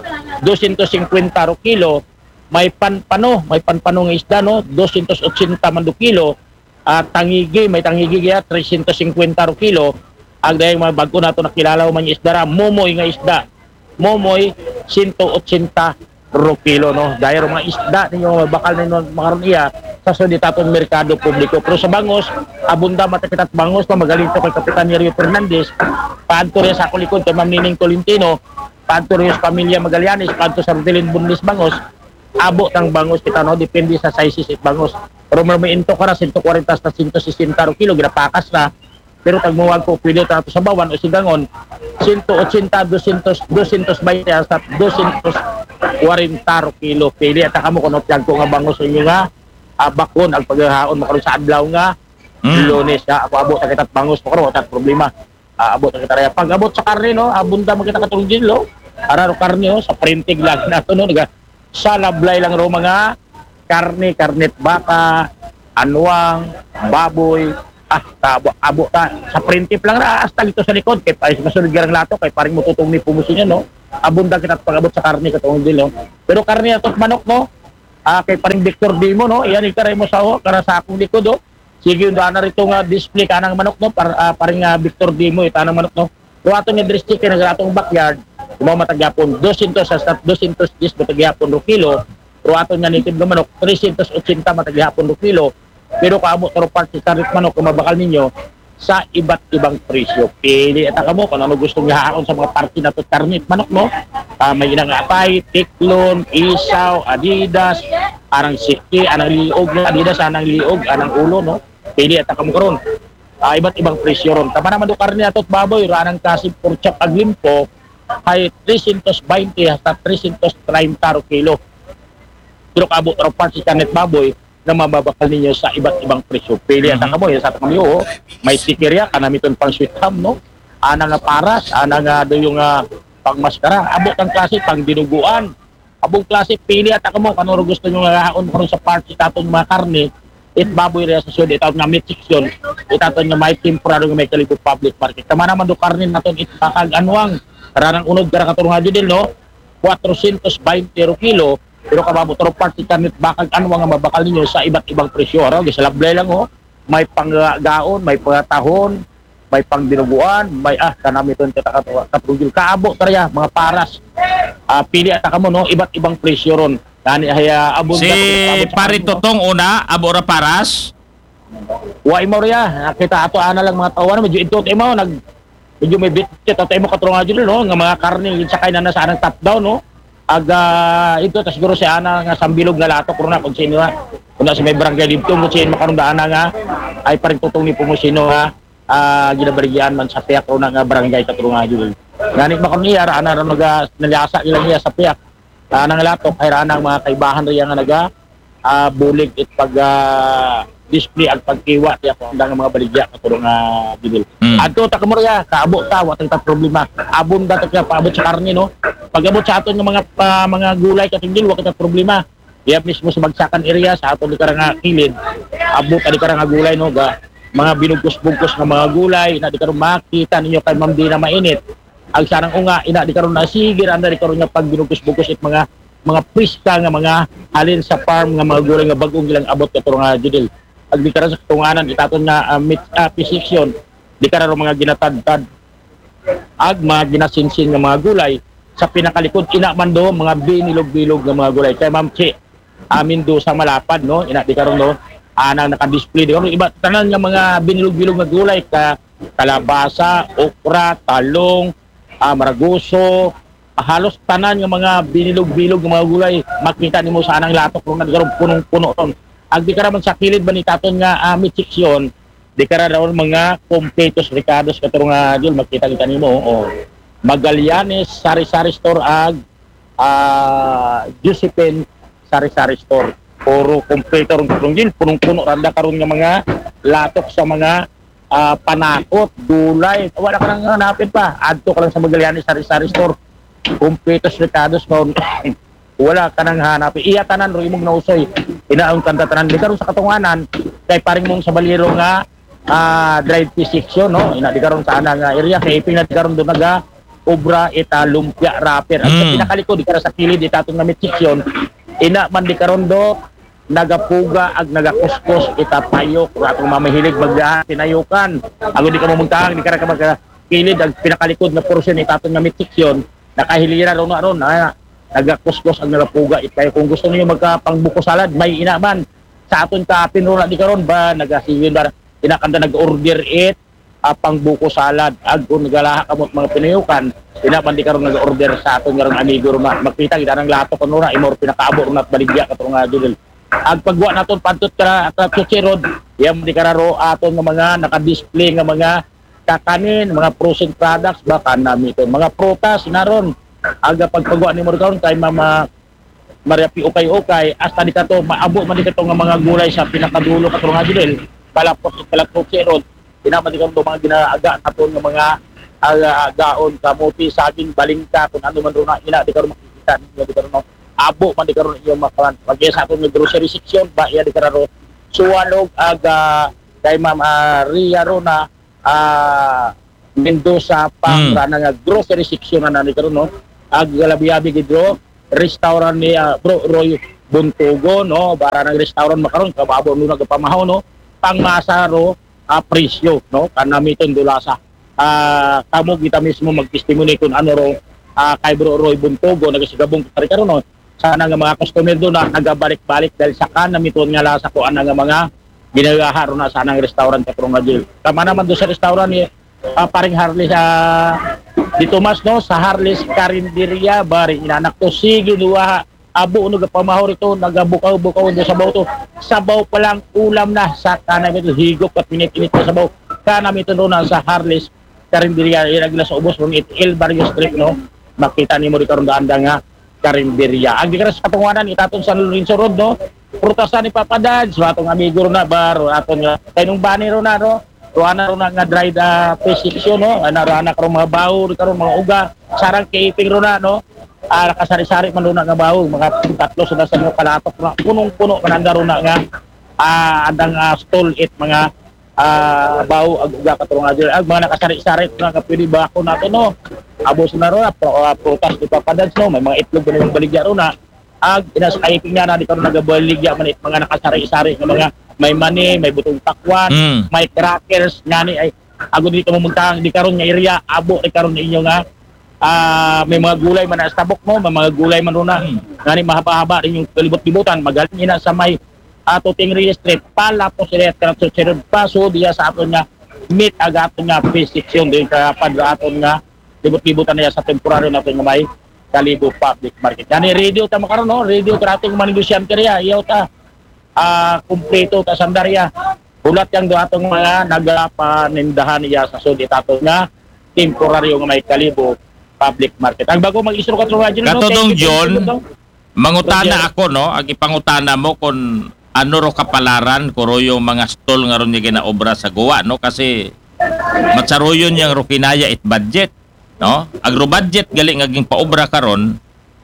Dosyentos singkwenta ro kilo. May panpano, may panpano nga isda, no? Dosyentos otsenta man do kilo. Ah, tangigi, may tangigi iya, tresyentos singkwenta ro kilo. Ag dayang mga bag-o nato nakilala man nga isda ra, momoy nga isda. Momoy, sento otsenta ro kilo, no? Dayang mga isda ninyo, bakal ninyo makaron iya sa sud it aton merkado publiko. Pero sa bangos, abunda matakit at bangos pa, magaling to kay Kapitan Nerio Fernandez, paadto riya sa ako likod kay Ma'am Nining Tolentino, paadto riya sa pamilya Magallanes, paadto sa Rodelin Bunlis bangos, abo tang bangos kita, no? Depende sa sizes it bangos. Pero may intok ra, sento kwarenta hasta sento sesenta ro kilo, ginapakas na. Pero tagmuwag ko, pwede ta ato sa bawan o sigangon, sento otsenta, dosyentos, dosyentos baynte hasta dosyentos kwarenta ro kilo. Pili ata kamo kung ano tiyag ko nga bangos inyo nga, ah, bakon ang paghahaon makaron sa adlaw nga Mm. Lunes, ha? Ako abo, takit at bangos makaron, watak problema. Aabot na kita raya. Pag-abot sa karne, no, abunda man kita, Katulong Jil, no? Ara ro karne, oh, sa printing lang nato, no? Naga, sa lablay lang ro mga karne, karnet baka, anwang, baboy, ah, kaabo, abo ta, sa printip lang ra, hasta dito sa likod, kay pa, masunod garang lato, kay paring mututong ni pumusin yan, no? Abunda kita pag-abot sa karne, Katulong Jil, no? Pero karne ato manok, no? Ah, kay paring Victor Dimo, no? Yan, ikaray mo sa, oh, kara sa akong likod, oh. Sige, yung daan na rito nga display ka ng manok, no? Par, ah, paring, ah, Victor Dimo, ita ng manok, no? Pero ato nga dress chicken, nga atong backyard, yung mga matagyapon, dosyentos hasta dosyentos diyes matagyapon ro kilo, pero ato nga native nga manok, tresyentos otsenta matagyapon ro kilo, pero kaamo taro parts sa karnet manok, kung mabakal ninyo, sa iba't ibang presyo. Pili ata kamo kung ano gusto niya haon sa mga parte na to, karnet manok, no? Ah, may inang atay, tiklon, isaw, Adidas, anang siki, anang liog, no? Adidas, anang liog, anang ulo, no? Pili ata kamo karon. Ah, iba't ibang presyo ron. Tama naman do karne ato baboy, ra anang kasi pork chop ag limpo, ay tresyentos baynte hasta tresyentos treinta ro kilo. Pero kaabo ro parts sa karnet baboy, na mababakal ninyo sa iba't ibang presyo. Pili ata kamo, yan sa kami, oh. May sikirya, kanamiton pang sweet ham, no? Ana nga paras, ana nga do yung, ah, pang maskara. Abot ang klase, pang dinuguan. Abong klase, pili ata kamo, kano ro gusto nyo nga haon karon sa parts sa aton mga karne, it baboy raya sa sud, itaton nga meat section, itaton nga may temporary nga may Kalibo Public Market. Tama naman do karne naton, it bakag anwang, ranang unod kara, Katulong Judel, no? Kwatrosyentos baynte ro kilo, pero kaabo taro parts sa karnet bakag anwang nga mabakal ninyo sa iba't ibang presyo. Araw, sa lablay lang, oh. May panggaon, may pangatahon, may pangdinuguan, may, ah, kanamiton kita, Katulong Jil. Kaabo ta raya, mga paras. Ah, pili ata kamo, no? Iba't ibang presyo ron. Nani, ay, ah, abot Si na, abot sa Pare kamo, no? Totong una, abo ra paras. Wa imo raya. Nakita ato ana lang mga tao, ano, medyo ito, imo, nag, medyo may bitchet ato, imo, Katulong Jil, no? Nga mga karne, yung sakay na nasa anang top down, no? Aga, ito, tas siguro si ana nga sambilog nga latok ron na kung sino na. Kung na sa may barangay dito, kung sino makaroon daan na nga, ay paring Totong ni Pumusino nga, ah, ginabaligyan man sa piyak ron na nga barangay, Katulong Jil. Nani makaroon niya, ra ana ron naga, naliasa nila niya sa piyak. Ana nga latok, ay ra ana ang mga kaibahan riya nga naga, ah, bulig it pag, ah, display ag pagkiwa, tiya ko ang mga baligya, Katulong Jil. Mm. Adto ta kamo riya, kaabo ta, wa ta problema. Abunda ta kaya paabot sa karne, no? Pag-abot sa aton nga mga, ah, mga gulay, Katulong Jil, wa kita problema. Iya mismo sa bagsakan area, sa aton di kara nga kilid, abot ta di kara nga gulay, no? Ga, mga binugkos-bugkos nga mga gulay, ina di karon makita ninyo kay Ma'am Dina mainit. Ag sanang unga, ina di karon na sige, anda di karon nga pag binugkos-bugkos it mga, mga priska nga mga halin sa farm nga mga gulay nga bag-ong ilang abot, Katulong Judel. Ag di kara sa tunganan, itaton nga, ah, meat, ah, fish section, di kara ro mga ginatadtad ag mga ginasinsin nga mga gulay. Sa pinakalikod, ina man do, mga binilog-bilog nga mga gulay. Kay Ma'am Chi, amin do sa malapad, no? Ina di karon, no? Anang nakadisplay di karon. Iba, tanan nga mga binilog-bilog nga gulay, ka, kalabasa, okra, talong, ah, maraguso, halos tanan nga mga binilog-bilog nga mga gulay, makita nimo sa anang latok ron, nga di karon punong-puno ron. Ag di kara man sa kilid ba ni taton nga, ah, meat section, di kara ron mga kompletos rekados, Katulong Jil, makita kita nimo, oh. Magallanes, Sari-Sari Store, ag, ah, Josephine Sari-Sari Store. Puro kompleto ron, Katulong Jil, punong-puno randa karon nga mga latok sa mga, ah, panakot, gulay. Wala ka nang hanapin pa. Adto ka lang sa Magallanes Sari-Sari Store. Kompletos rekados karon. Wala ka nang hanapin. Iya tanan ro imong nausoy. Inaon kanta tanan. Di karon sa katunganan, kay paring mong sa Baliro nga, ah, dried fish section, no? Ina di karon sa ana nga area, kay ipin na di karon do naga obra ita lumpia wrapper. Ang sa Mm. pinakalikod, di kara sa kilid, ita atong nga meat section, ina man di karon do nagapuga ag nagakuskos ita payok, wa atong mamahilig magdahan, tinayukan. Ago di ka mamungtahang, di kara ka magkakilid, ang pinakalikod nga portion ita atong nga meat section, nakahilira ron na ron, ah, nagakuskos ag nagapuga ita payok. Kung gusto niyo magkapangbuko salad, may ina man. Sa aton ka apin ron na di karon ba, nagasiyon ba, ina kanda nag-order it, ah, pang buko salad. Ag kung nagalaha kamo mga pinayukan, ina man di karon nag-order sa aton nga amigo ron na. Makita kita nang lato kuno na, imor pinakaabo ron at baligya, Katulong Judel. Ag pagwa naton pantot ka, ka Chuchi Road, yan di kararo aton nga mga nakadisplay nga mga kakanin, mga frozen products, baka nami ito. Mga prutas, naron. Aga pagpagwa ni mo karon kay Mama Maria P. Ukay-ukay, hasta di kato, maabo man di kato nga mga gulay sa pinakadulo, Katulong Judel, palapos, palapos si Rod, di naman di kato mga ginaaga naton nga mga aga-, agaon, kamote, saging, balingka, kun ano man ron na, ina, di karon makikita ninyo, di karon, no? Abo man di karon inyo makawan. Pag sa aton nga grocery section, ba, iya di karon, Suwalog, aga, kay Ma'am, ah, Ria ron na, ah, Mendoza, pang Hmm. rana nga grocery section na nani karon, no? Ag labi-abi gid ro, restaurant ni, ah, Bro Roy Buntugo, no? Bara nang restaurant makaron, kababo no nagapamahaw, no? Pang masa ro, ah, presyo, no? Kanamiton dulasa. Ah, kamo kita mismo magtestimony kung ano ro, ah, kay Bro Roy Buntugo, nagasigabong kari karon, no? Sana nga mga customer do na nagabalik-balik dahil sa kanamiton nga lasa ko ana nga mga ginagaha ro na sa anang restaurant, Katrong Adil. Tama naman do sa restaurant ni, ah, paring Harley sa di Tomas, no, sa Harley's Carinderia, bari inanak to, sige, duwa, abo, no, gapamahaw rito, nagabukaw-bukaw do sabaw to. Sabaw pa lang, ulam na, sa kanamiton, higop at pinit-init na sabaw. Kanamiton ro na sa Harley's Carinderia, ira gila sa ubos, ron it El Barrio Street, no, makita nimo di karon daan nga Carinderia. Ang di karon sa katunganan, itaton sa Lorenzo Road, no, prutasan ni Papa Dads, atong amigo ro na, baro, aton nga, kay nung bani ro na, no, Ruana ro na nga dried, ah, fish section, no? Ana, ruana karong mga bawo, di karon mga uga. Sarang keeping ro na, no? Ah, nakasari-sari man ro na nga bawo, mga tatlo sa nasa mga palatok na. Punong-puno man ang ro na nga, ah, andang, ah, stall it mga, ah, bawo, ag uga, Katrong Adil. Ag mga nakasari-sari ro na nga pwede ba ako nato, no? Abo sa na ro na, pro-, ah, prutas di Papa Dads, no? May mga itlog, may mga baligya ro na. Ag inas ay nga na di karon nagabaligya man it mga nakasari-sari nga mga may mani, may butong pakwan, Mm. may crackers, ngani ay ago di ka mamunta di karon nga area, abo di karon inyo nga, ah, may mga gulay man na sa tabok mo, may mga gulay man ro na. Mm. Ngani mahaba-haba rin yung kalibot-libutan, magaling ina sa may ato Tingri Street, pala po sila at kanang susunod paso diya sa aton nga meat ag aton nga fish section din kaya padra aton nga libot-libutan niya sa temporaryo natin nga may Kalibo Public Market. Ngani radio ta makaron, no? Radio ta ating mga negosyante riya, iyaw ta. Ah, kumpleto ta sandarya. Hulat yang do atong mga nagapanindahan iya sa sud itato nga temporaryo nga may Kalibo Public Market. Ang bago mag-isro, Katrong Adil, no? Katodong Thank you, thank you, John, Katong. Mangutana Roger. Ako, no? Ag ipangutana mo kung ano ro kapalaran, kuro yung mga stall nga ron yung ginaobra sa guwa, no? Kasi matsaruyon yang ro kinaya it budget, no? Ag ro budget gali nga ging paobra karon,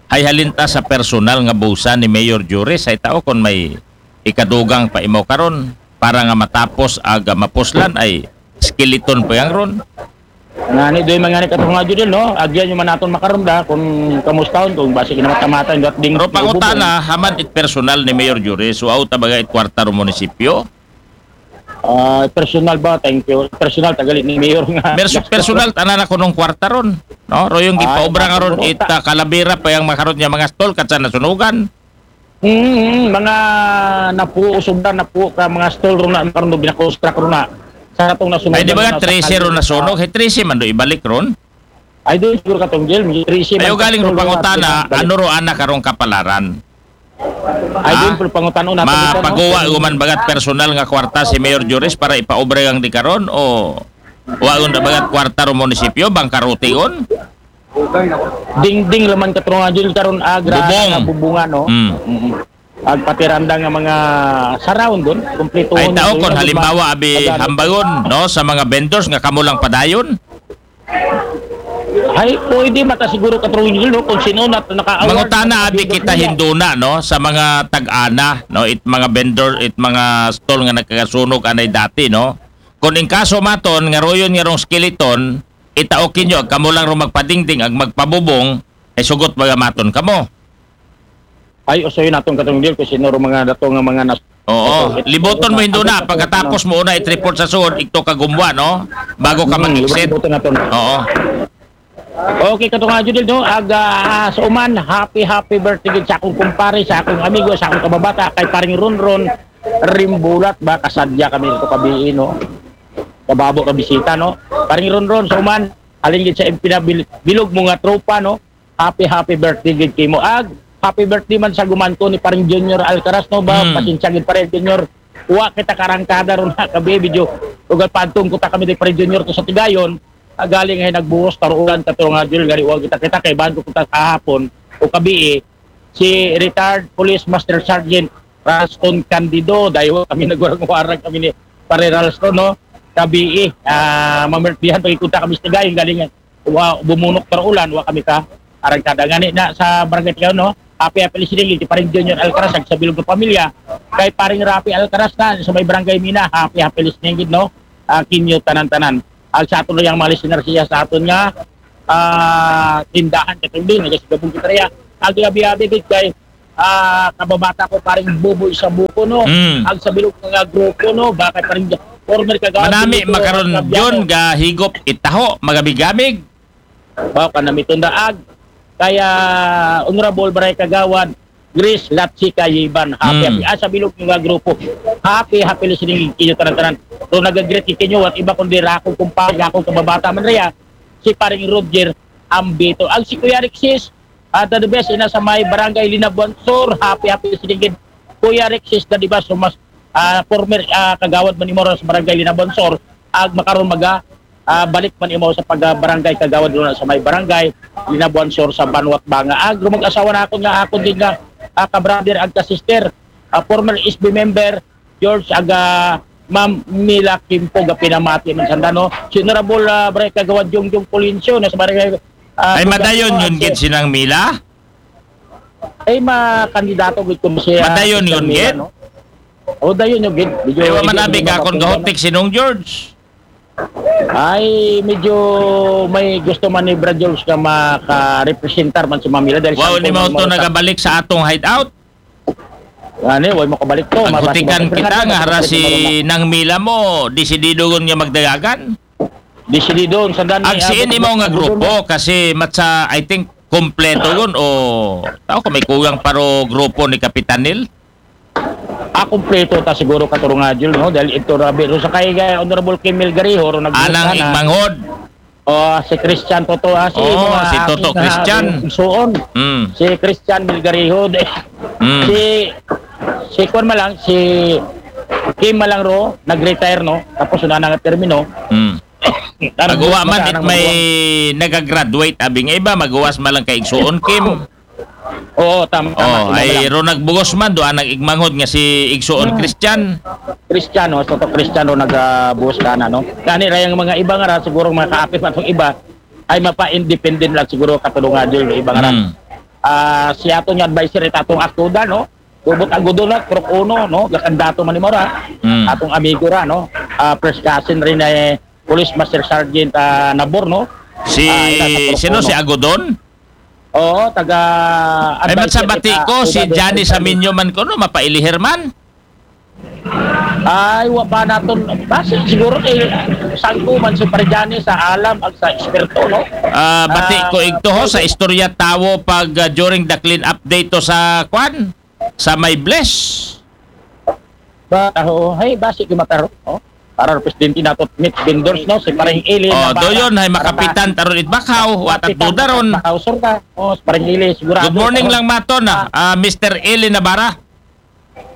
hay halinta sa personal nga busa ni Mayor Juris, hay tao kung may ikadugang pa imo karon para nga matapos ag mapuslan ay skeleton pa yang ron. Ngani, doy, mga ni Katrong Adil, no? Agyan yung manaton makaron da, kung kamustahon, kung basi kinamatamaton, gat ding Pero pangutana, haman it personal ni Mayor Juris, so out baga it kwarta ro munisipyo? Ah, personal ba? Thank you. Personal, tagali ni Mayor nga. Perso-, personal, tanan ako nung kwarta ron. No? Ro yung Ah, gipaobra nga ron, siguro it, ta. Ah, kalabira pa yung makaron niya mga stall, katsa nasunugan. Mm, mm, mga napuo, sobra napuo ka mga stall ro na, karon do binakonstruct ro na. Sa atong nasunog Ay, di ba na nga sa trese ro kalye, nasunog? ah. Hey, trese man do ibalik ron? Ay, doon siguro katong jail, may trese man Ayaw galing ka ro stall ro na pangutana, pinabalik. Ano ro anak karong kapalaran? Ay, Ha? Doon, pero pangutano natin dito, no? Mapaguwa Kung guman bagat personal nga kwarta si Mayor Juris para ipaobra ang di karon o wa ron na bagat kwarta ro munisipyo, bangkarote ron? Dingding laman Katrong Adil karon, ah, gra-, Bubong. Bubungan, no? Mm. Mm-mm. Ag patiranda nga mga surround doon, kompleto Ay, tao, kung halimbawa, abi, hambagon, no, sa mga vendors nga kamo lang padayon. Ay, pwede mata siguro, Katrong Adil, no, kung sino na naka-award, Mangutana, abi, naka-award kita nila. Hinduna, no, sa mga tag-ana, no, it mga vendor, it mga stall nga nagkakasunog anay dati, no. Kung in kaso maton, nga royon nga rong skeleton, itaokin nyo, ag kamo lang ro magpadingding, ag magpabubong, ay sugot baga maton kamo. Ay, usoy naton, Katrong Adil, kung sino ro mga dato nga mga nas-, Oo, Ito, ito, liboton mo, ito, Hinduna, ito, pagkatapos ito. Mo una i-report sa suod, ito kagumwa, no? Bago ka Hmm, mag-exit. Liboton naton. Oo. Okay, Katrong Adil, no? Ag, ah, sa uman, happy, happy birthday gid sa akong kumpare, sa akong amigo, sa akong kababata, kay Paring Ronron Rimbulat ba, kasadya kami ito kabiin, no? Kababo ka bisita, no? Paring Ronron, sa uman, halin gid sa pinabil-, bilog mo nga tropa, no? Happy, happy birthday gid kimo. Ag, happy birthday man sa gumanto ni Paring Junior Alcaraz, no ba? Hmm. Pasensya gid, Paring Junior. Wa kita karangkada ron na kabi, video. Ugal pantong kuta kami di Paring Junior to sa Tigayon. Agaling ay nagbuhos, taruulan, Katrong Adil, gari wa kita kita kay bando kuta kahapon o kabi, eh, si retired Police Master Sergeant Ralston Candido, dahil kami nagwarang-warang kami ni Pare Ralston, no? gabii, ah, mamirtihan pag-ikunta kami sa Tigayon, galing, wa, bumunok para ulan, wa kami ka, arang kada ngani na sa barangay Tigayon, no? Happy, happy listening, iti Paring Junior Alcaraz, ag sa bilog nga pamilya, kay Paring Rafi Alcaraz na, sa may barangay Mina, happy, happy listening, gid, no? Ah, kinyo tanan-tanan. Ag sa aton yang mga listener siya sa aton nga, ah, tindahan, katong din, nagasigabong kita riya. Ag abi-abi, gid, kay, ah, kababata ko, Paring Buboy sa buko, no? Mm. Ag sa bilog nga grupo, no? Bakit Paring former kagawad Manami dito, makaron Fabiano. Jun, gahigop itaho, magabig-gamig. Wow, kanami tunda ag. Kaya, Honorable Baray Kagawad, Grace Latsi Kayiban. Happy, Mm. happy. Ah, sa bilog nga grupo. Happy, happy listening kinyo tanan-tanan. So, nag-greet kinyo, at iba kundi ra akong kumpare, akong kababata man riya, si Paring Roger Ambito. Ag si Kuya Rexis, ah, the best ina sa may barangay Linabuan Sur. Happy, happy listening gid. Kuya Rexis, the best, so mas, ah, former, ah, kagawad man imo sa barangay Linabuan Sur. Ag makaron maga, ah, balik man imo sa pag-, ah, barangay kagawad doon sa may barangay Linabuan Sur sa Banwat Banga. Ag mag-asawa na ako nga, ako din nga, ah, ka-brother ag ka-sister, ah, former S B member, George, aga Ma'am Mila Kimpo, ga pinamati man sanda, no? Si Honorable, ah, Bray Kagawad Jungjung Polencio, na sa barangay, ah, Ay, madayon Bugabunga, yun, gid, si sinang Mila? Ay, makandidato gid ko siya. Madayon Sister yun, Mila, gid? No? O, dayon yun, gid. Medyo Ay, wa man medyo abi ka kung mapapingan, gahutik sinong George. Ay, medyo may gusto man ni Brad George nga makarepresentar man si Ma'am Mila dahil Wow, siya ni ang mo to mga nagabalik sa atong hideout. Ano, way mo kabalik to. Aghutikan Mabasa-basa kita ka nga na, hara mabasa-basa si ka na. Nang Mila mo, disidido gun nga magdagagan. Disidido, sanda ni Ag si Abot ini mo nga Abot grupo, kasi matsa, I think, kompleto gun o tao ko may kugang paro grupo ni Kapitan Nil. Ah, kompleto ta siguro, Katurong Jul, no? Dahil ito, Rabi, ro sa kay, eh, Honorable Kim Milgariho, ro nag- Anang na. Igmanghod. Oh, si Christian Toto, ah, si Oo, mga si Toto aking, ah, Christian. Igsuon. Mm. Si Christian Milgariho, eh. Mm. Si, si Kwan Malang, si Kim Malang ro, nag-retire, no? Tapos una na nga termino. Mm. Tarang Maguwa man bata it nang may maguwa. nagagraduate, abi nga iba, maguwas man lang kay Igsuon Kim. Oo, tama, tama. Oh, Tama ay lang. Ro nagbugos man, do anang Igmanghod nga si Igsuon Ah. Christian. Christian, oh, Toto Christian, oh, nagbuhos ka na, no? Kani rayang mga iba nga ra, siguro mga kaapit man tong iba, ay mapa-independent lang siguro, Katurong Jul, iba nga ra. Mm. Ah, si ato nga advisor, it atong aktuda, no? Bubot Agudo na, Krok Uno, no? Gakandato man ni Mora. Mm. Atong amigo ra, no? Ah, first cousin rin ay Police Master Sergeant, ah, Nabor, no? Si, Ah, ina sa Krok sino Uno. Si Agodon? Oo, taga Ay, advisor matsabati kita, ko, si Uda Johnny Dexter. Saminyo man ko, no? Mapailihir man. Ay, wa pa naton. Basi siguro kay sangko man si Parjani sa alam ag sa eksperto, no? Ah, bati Ah, ko igto ho sa istorya tawo pag ah, during the clean up day to sa kwan, sa may bless. Ba, oh, hey, basi ko mataro, no? Para presidente nato, meat vendors, no? Si Paring Eli Oh, Navarra. do yun, hay Para makapitan taron it bakaw, watat Kapitan dudaron. Bakaw, sir, ka. Oh, si Paring Eli, sigurado. Good morning Oh. lang maton, ah, ah, Mister Eli Navarra.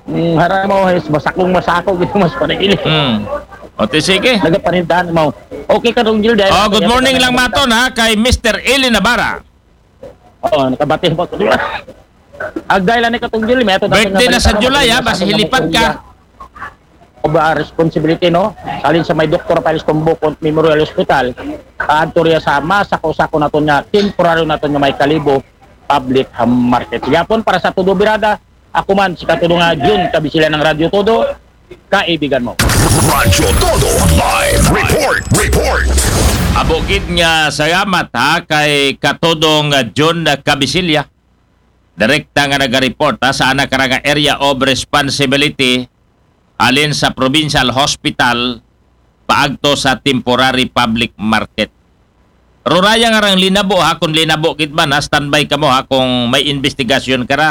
Mm, harang mo, is masakong masako gito, mas Paring Eli. Hmm. O, ti sige. Nagapanindahan mo. Okay, Katong Jul, dahil Oh, good morning lang maton, ha, kay Mister Eli Navarra. Oo, nakabati po. Ag dahil ni Katong Jul, may ato Birthday na sa July, ha, basi hilipad ka. Of, ah, responsibility, no? Salin sa may Doktor Rafael Tumbukon Memorial Hospital, ah, adto riya sa masako-sako naton nga temporaryo naton nga may Kalibo Public Market. Yapon para sa Todo Birada, ako man si Katudo nga Jun Kabisilya ng Radyo Todo, kaibigan mo. Radyo Todo Live Report. Report. Abo gid nga salamat, ha, kay Katudong, ah, Jun Kabisilya. Direkta nga naga-report, ha, sa anak ra nga area of responsibility, alin sa provincial hospital paagto sa temporary public market. Ruraya nga rang linabo, ha, kung linabo gid man, ha, standby kamo, ha, kung may investigasyon ka ra.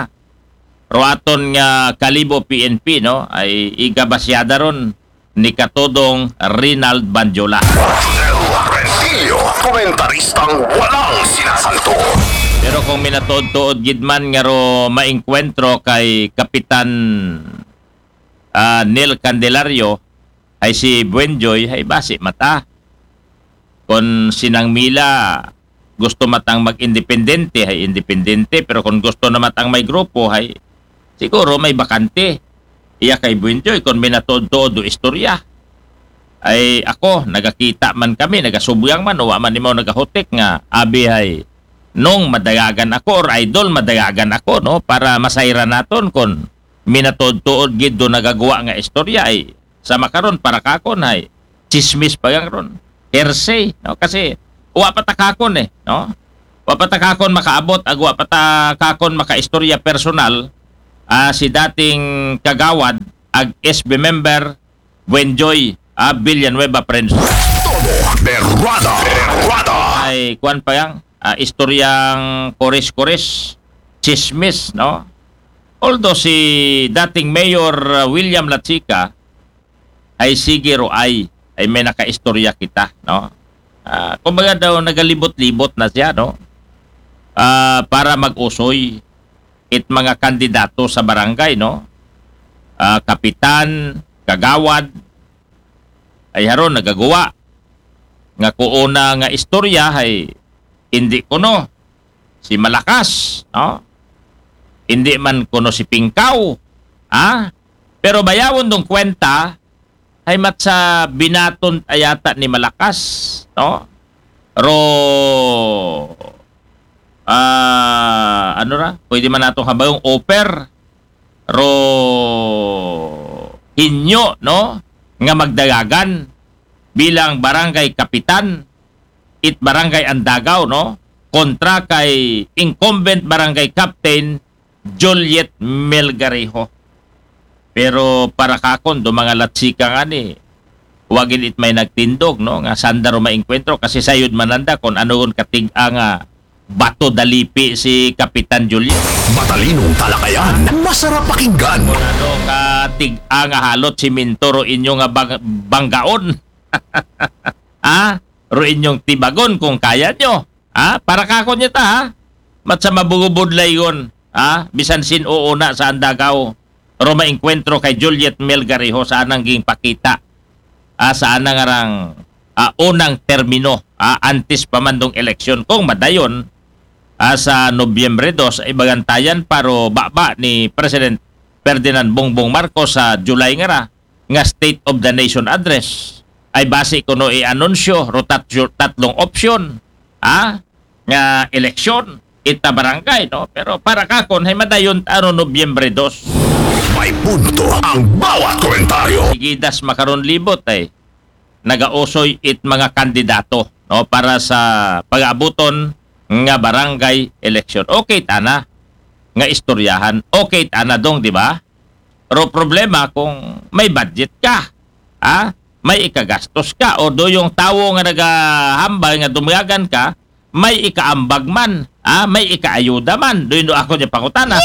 Ruaton nga Kalibo P N P, no, ay igabasyada ron ni Katudong Rinald Banjola. Rentillo, komentaristang walang sinasanto. Pero kung minatuod-tuod gid man nga ro maengkwentro kay Kapitan, ah, Neil Candelario, ay si Buenjoy, ay basi mata. Kon si Nang Mila gusto matang mag-independente, ay independente, pero kon gusto na matang may grupo, ay siguro may bakante. Iya kay Buenjoy, kon minatuod-tuod do istorya. Ay ako, nagakita man kami, nagasubgang man, wa man nimo nagahutik nga, abi hay, nung madayagan ako or idol, madayagan ako, no? Para masayran naton kon minatuod-tuod gid do nagagwa nga istorya ay sa makaron para kakon ay chismis pa gang ron. Hearsay, no? Kasi wa pa ta kakon eh, no? Wa pa ta kakon makaabot, ag wa pa ta kakon makaistorya personal, ah, si dating kagawad, ag S B member, Buenjoy, ah, Villanueva Friends. Todo berrada, berrada. Ay, kuwan pa yang, ah, istoryang kores-kores, chismis, no? Although si dating Mayor, ah, William Lachica ay sige ro ay, ay may nakaistorya kita, no? Ah, kumbaga daw nagalibot-libot na siya, no? Ah, para mag-usoy it mga kandidato sa barangay, no? Ah, kapitan, kagawad, ay haron nagagawa nga kuuna nga istorya ay hindi kuno si Malakas, no? Hindi man kuno si Pingkaw, ha? Pero bayawon dong kwenta ay matsa binaton ayata ni Malakas, no? Ro, ah, ano ra? Pwede man natong habayong offer, ro hinyo, no? Nga magdayagan bilang barangay kapitan it barangay Andagaw, no? Kontra kay incumbent barangay captain Juliet Melgarejo. Pero para kakon do mga Latsika nga ni, wagin it may nagtindog, no? Nga sanda ro maengkwentro kasi sayod mananda kung ano ron katig-a nga bato dalipi si Kapitan Juliet. Matalinong talakayan, masarap pakinggan. Ano katig-a nga halot si Mintoro inyo nga bang- banggaon? Ah, ro inyong tibagon kung kaya nyo. Ah, para kakon niya ta, ha? Mat sa mabugubod laygon, ha? Bisan sin uuna sa Andagaw, ro maengkwentro kay Juliet Melgarejo sa anang ging pakita. Ah, sa anang arang, ah, unang termino, ah, antes pa man dong eleksyon. Kung madayon, ah, sa Nobyembre dos, ay bagantayan paro baba ni President Ferdinand Bongbong Marcos sa July nga ra, nga State of the Nation Address. Ay base kuno i-anunsyo, ro tat- tatlong opsyon, ha? Nga eleksyon, ita barangay, no? Pero para kakon, hay madayon ano Nobyembre dos. May punto ang bawat komentaryo. Sigidas makaron libot ay nagausoy it mga kandidato, no? Para sa pag-abuton nga barangay election. Okay tana nga istoryahan. Okay tana dong, di ba? Pero problema kung may budget ka, ha? May ikagastos ka o do yung tawo nga nagahambal nga dumayagan ka, may ikaambag man, ha? May ikaayuda man. Do yung do ako niya pangutana.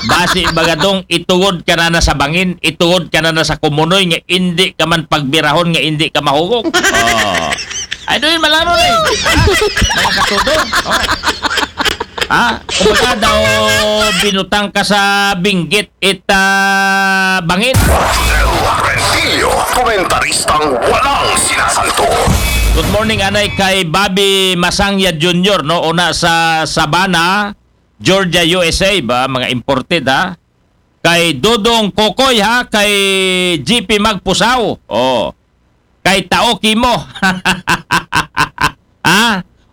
Basi baga dong itugod ka na na sa bangin, itugod ka na na sa kumunoy nga hindi ka man pagbirahon nga hindi ka mahugog. Oh. Ay, do yung malaro na eh. Ha? Mga katudo. Oh. Ha? Kumbaga daw binutang ka sa binggit it ah, bangin. Del Rentillo, komentaristang walang sinasanto. Good morning, anay kay Bobby Masangya Junior, no? Una sa Savannah, Georgia, U S A ba? Mga imported, ha? Kay Dodong Kokoy, ha? Kay G P Magpusaw. Oh. Kay Tao Kimo. Ha?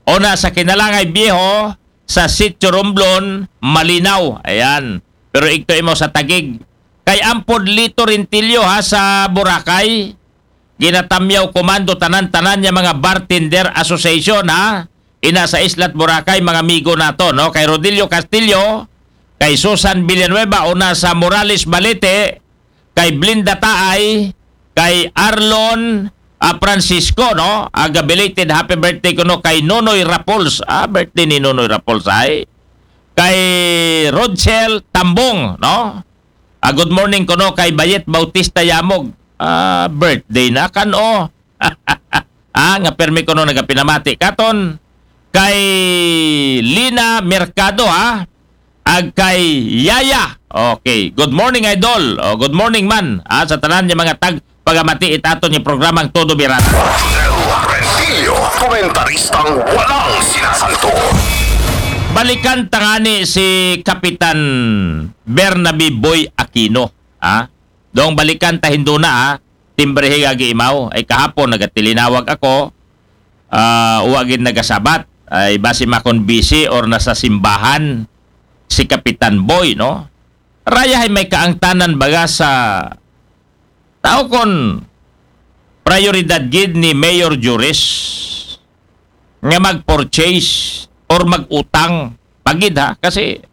Una sa Kinalangay Viejo, sa Sitio Romblon, Malinaw. Ayan. Pero igto imo sa Tagig. Kay Ampod Lito Rentillo, ha, sa Boracay. Ginatamyaw komando tanan-tanan niya mga bartender association, ha. Ina sa Islat Boracay, mga amigo nato, no? Kay Rodilio Castillo, kay Susan Villanueva, una sa Morales Balete, kay Blinda Taay, kay Arlon ah, Francisco, no? Aga belated happy birthday kuno kay Nonoy Rapols. Ah, birthday ni Nonoy Rapols ay. Kay Rodsel Tambong, no? Ah, good morning kuno kay Bayet Bautista Yamog. Ah, birthday na kan, oh. Ah, nga permi kuno nagapinamati katon kay Lina Mercado, ha? Ag kay Yaya. Okay. Good morning, Idol. Oh, good morning man, ha? Sa tanan niya mga tag pagamati itato niya programang Todo Birata. Del Rentillo, komentaristang walang sinasanto. Balikan ta ngani si Kapitan Bernabe Boy Aquino, ha? Dong balikan ta hinduna, ha? timbre hi gagi imaw. Ay kahapon nagatilinawag ako, ah, wa gid nagasabat. Ay basi makon busy or nasa simbahan si Kapitan Boy, no? Rayahay may kaangtanan baga sa tao kon prioridad gid ni Mayor Juris nga mag-purchase or mag-utang pagid ha, kasi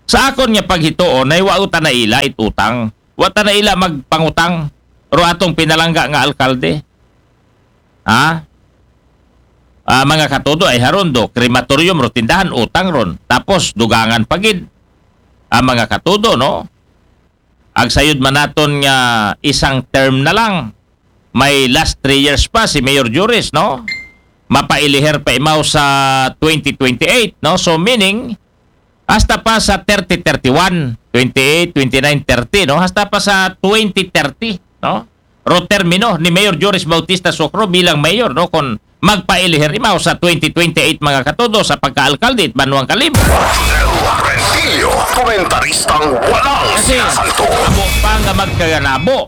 sa akon nga paghituon ay wa ta naila it utang. Wa ta naila magpangutang ro atong pinalangga nga alkalde. Ha? Ah, mga katudo, ay haron do, crematorium ro, tindahan, utang ron. Tapos dugangan pagid. Ah, mga katudo, no? Agsayod man naton nga isang term na lang. May last three years pa si Mayor Juris, no? Mapailiher pa imaw sa twenty twenty-eight, no? So meaning, hasta pa sa thirty thirty-one, twenty-eight, twenty-nine, thirty, no? Hasta pa sa twenty thirty, no? Ro termino ni Mayor Joris Bautista Socro bilang mayor, no? Kon magpailiher imaw sa twenty twenty-eight, mga katudo, sa pagkaalkalde it Banwang Kalibo. Rentillo, komentaristang walang Kasi sinasanto. Amo pa nga magkaganabo.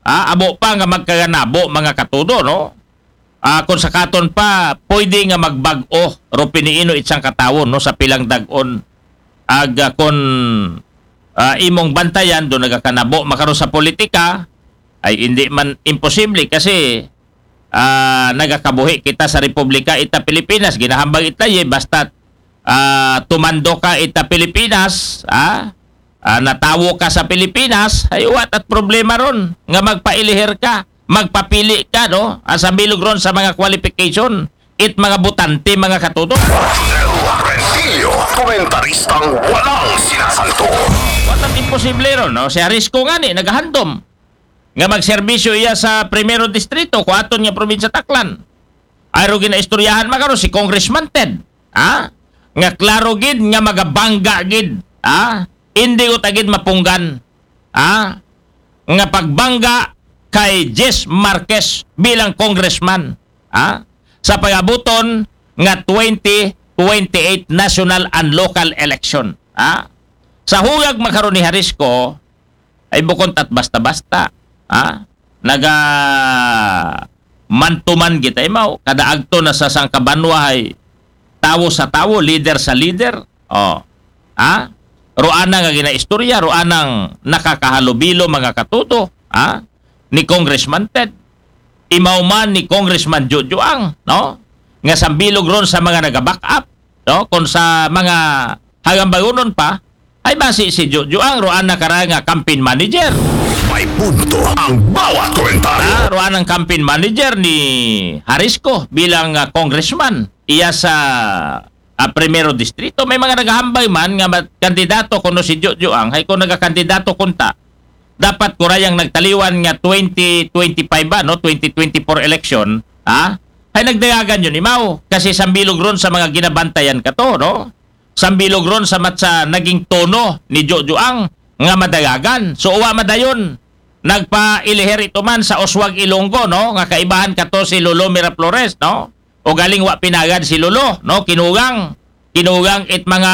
Ah, amo pa nga magkaganabo, mga katudo, no? Ah, kung sa katon pa, pwede nga magbag-o ro piniino itsang katawon, no, sa pilang dag-on. Ag, ah, kung, ah, imong bantayan do nagakanabo makaro sa politika, ay hindi man imposible kasi, ah, nagakabuhi kita sa Republika ita Pilipinas, ginahambag ita ye, basta, ah, tumando ka ita Pilipinas, ah, ah, natawo ka sa Pilipinas, ay what at problema ron nga magpailiher ka, magpapili ka, no? Asa bilog ron sa mga qualification, it mga butante, mga katudo. Rentillo, komentaristang walang sinasanto. What at imposible ron, no? Si Harisco nga ni, nagahandom nga magserbisyo iya sa Primero Distrito, kuaton nga probinsya Taklan. Ay ro ginaistoryahan makaro si Congressman Ted, ha? Nga klaro gid nga magabangga gid, ha? Hindi ko tagid mapunggan, ha? Nga pagbangga kay Jess Marquez bilang congressman, ha? Sa pagabuton nga twenty twenty-eight national and local election, ha? Sa huyag makaron ni Harisco, ay bukon tat basta-basta, ha? Naga mantuman kita imaw, kada agto na sa sangkabanwa ay tawo sa tawo, leader sa leader. Oh. Ha? Roana nga ginaistorya, roanang nakakahalubilo, mga katudo, ha? Ni Congressman Ted. Imaw man ni Congressman Jojo Ang, no? Nga sambilog ron sa mga naga-back up, no? Kung sa mga hagambagunon pa, ay basi si Jojo Ang roana kara nga campaign manager. May punto ang bawat komentaryo. Ah, roanang campaign manager ni Harisco bilang, ah, congressman. Iya sa, ah, Primero Distrito. May mga nagahambay man nga ma-, kandidato kuno si Jojo Ang, hay kung nagakandidato kunta, dapat kurayang nagtaliwan nga twenty twenty-five ba, no? Twenty twenty-four election, ha? Hay nagdayagan yun, imaw. Kasi sambilog ron sa mga ginabantayan kato, no? Sambilog ron sa matsa naging tono ni Jojo Ang nga madayagan. So, uwa madayon. Nagpailiher ito man sa Oswag Ilonggo, no? Nga kaibahan kato si Lolo Miraflores, no? O galing wa pinagad si Lolo, no? Kinugang. Kinugang it mga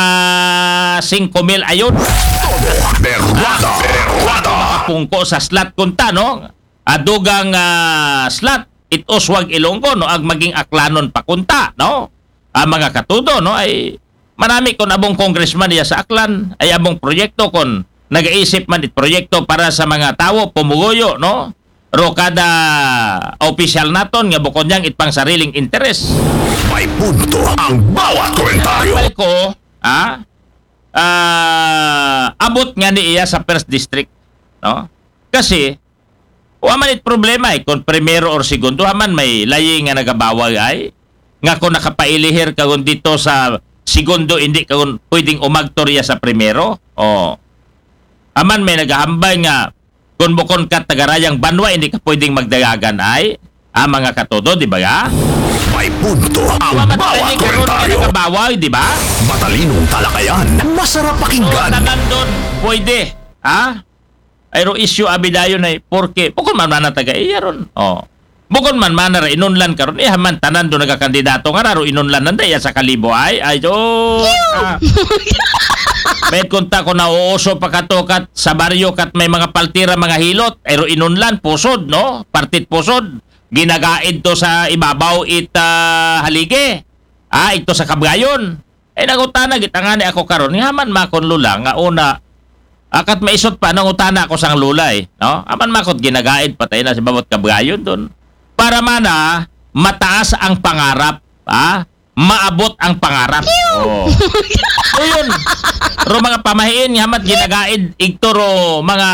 singko mil ayod. Todo berwada. Berwada. Makapungko sa slot kunta, no? Adugang, ah, slot, it Oswag Ilonggo, no? Ag maging Aklanon pa kunta, no? Ah, mga katudo, no? Ay, manami kon abong congressman iya sa Aklan, ay abong proyekto kon nagaisip man it proyekto para sa mga tawo, pumuguyo, no? Ro kada opisyal naton nga bukon niyang it pang sariling interes. May punto ang bawat komentaryo. Balik ko, ah, ah, abot nga ni iya sa first district, no? Kasi, wa man it problema, eh, kung primero or segundo, ha man may layi nga nagabawag ay, nga kung nakapailihir ka kung dito sa segundo, hindi ka kung pwedeng umagtor iya sa primero. Oh. Aman may nagahambay nga kung bukon ka tagarayang banwa, hindi ka pwedeng magdayagan ay, ah, mga katudo, di ba ga? May punto ang Wa man bawat tayo karon nga komentaryo. Nagabawag, di ba? Matalinong talakayan, masarap So, pakinggan. Tanan doon, pwede. Ha? Ay ro issue abi dayon ay, porke, bukon man mana taga iya ron. Oh. Bukon man mana ra inunlan karon, iya man tanan do nagakandidato nga ra ro inunlan nanda iya sa Kalibo ay, ay, oh. Ah. Pwede kunta ko nauuso pa kato kat sa baryo kat may mga paltira, mga hilot, ay ro inunlan, pusod, no? Partit pusod. Ginagaid to sa ibabaw it ah, haligi. Ah, ito sa kabgayon. Eh, nangutana gitangani ako karon. Nga man makon lula, nga una, akat maisot pa, nangutana ako sang lula eh. No? Aman makot ginagaid, patay na si babot kabgayon doon. Para mana, mataas ang pangarap. Ha? Maabot ang pangarap. Oh. So yun. Ro mga pamahiin, nga mat ginagaid, igto ro mga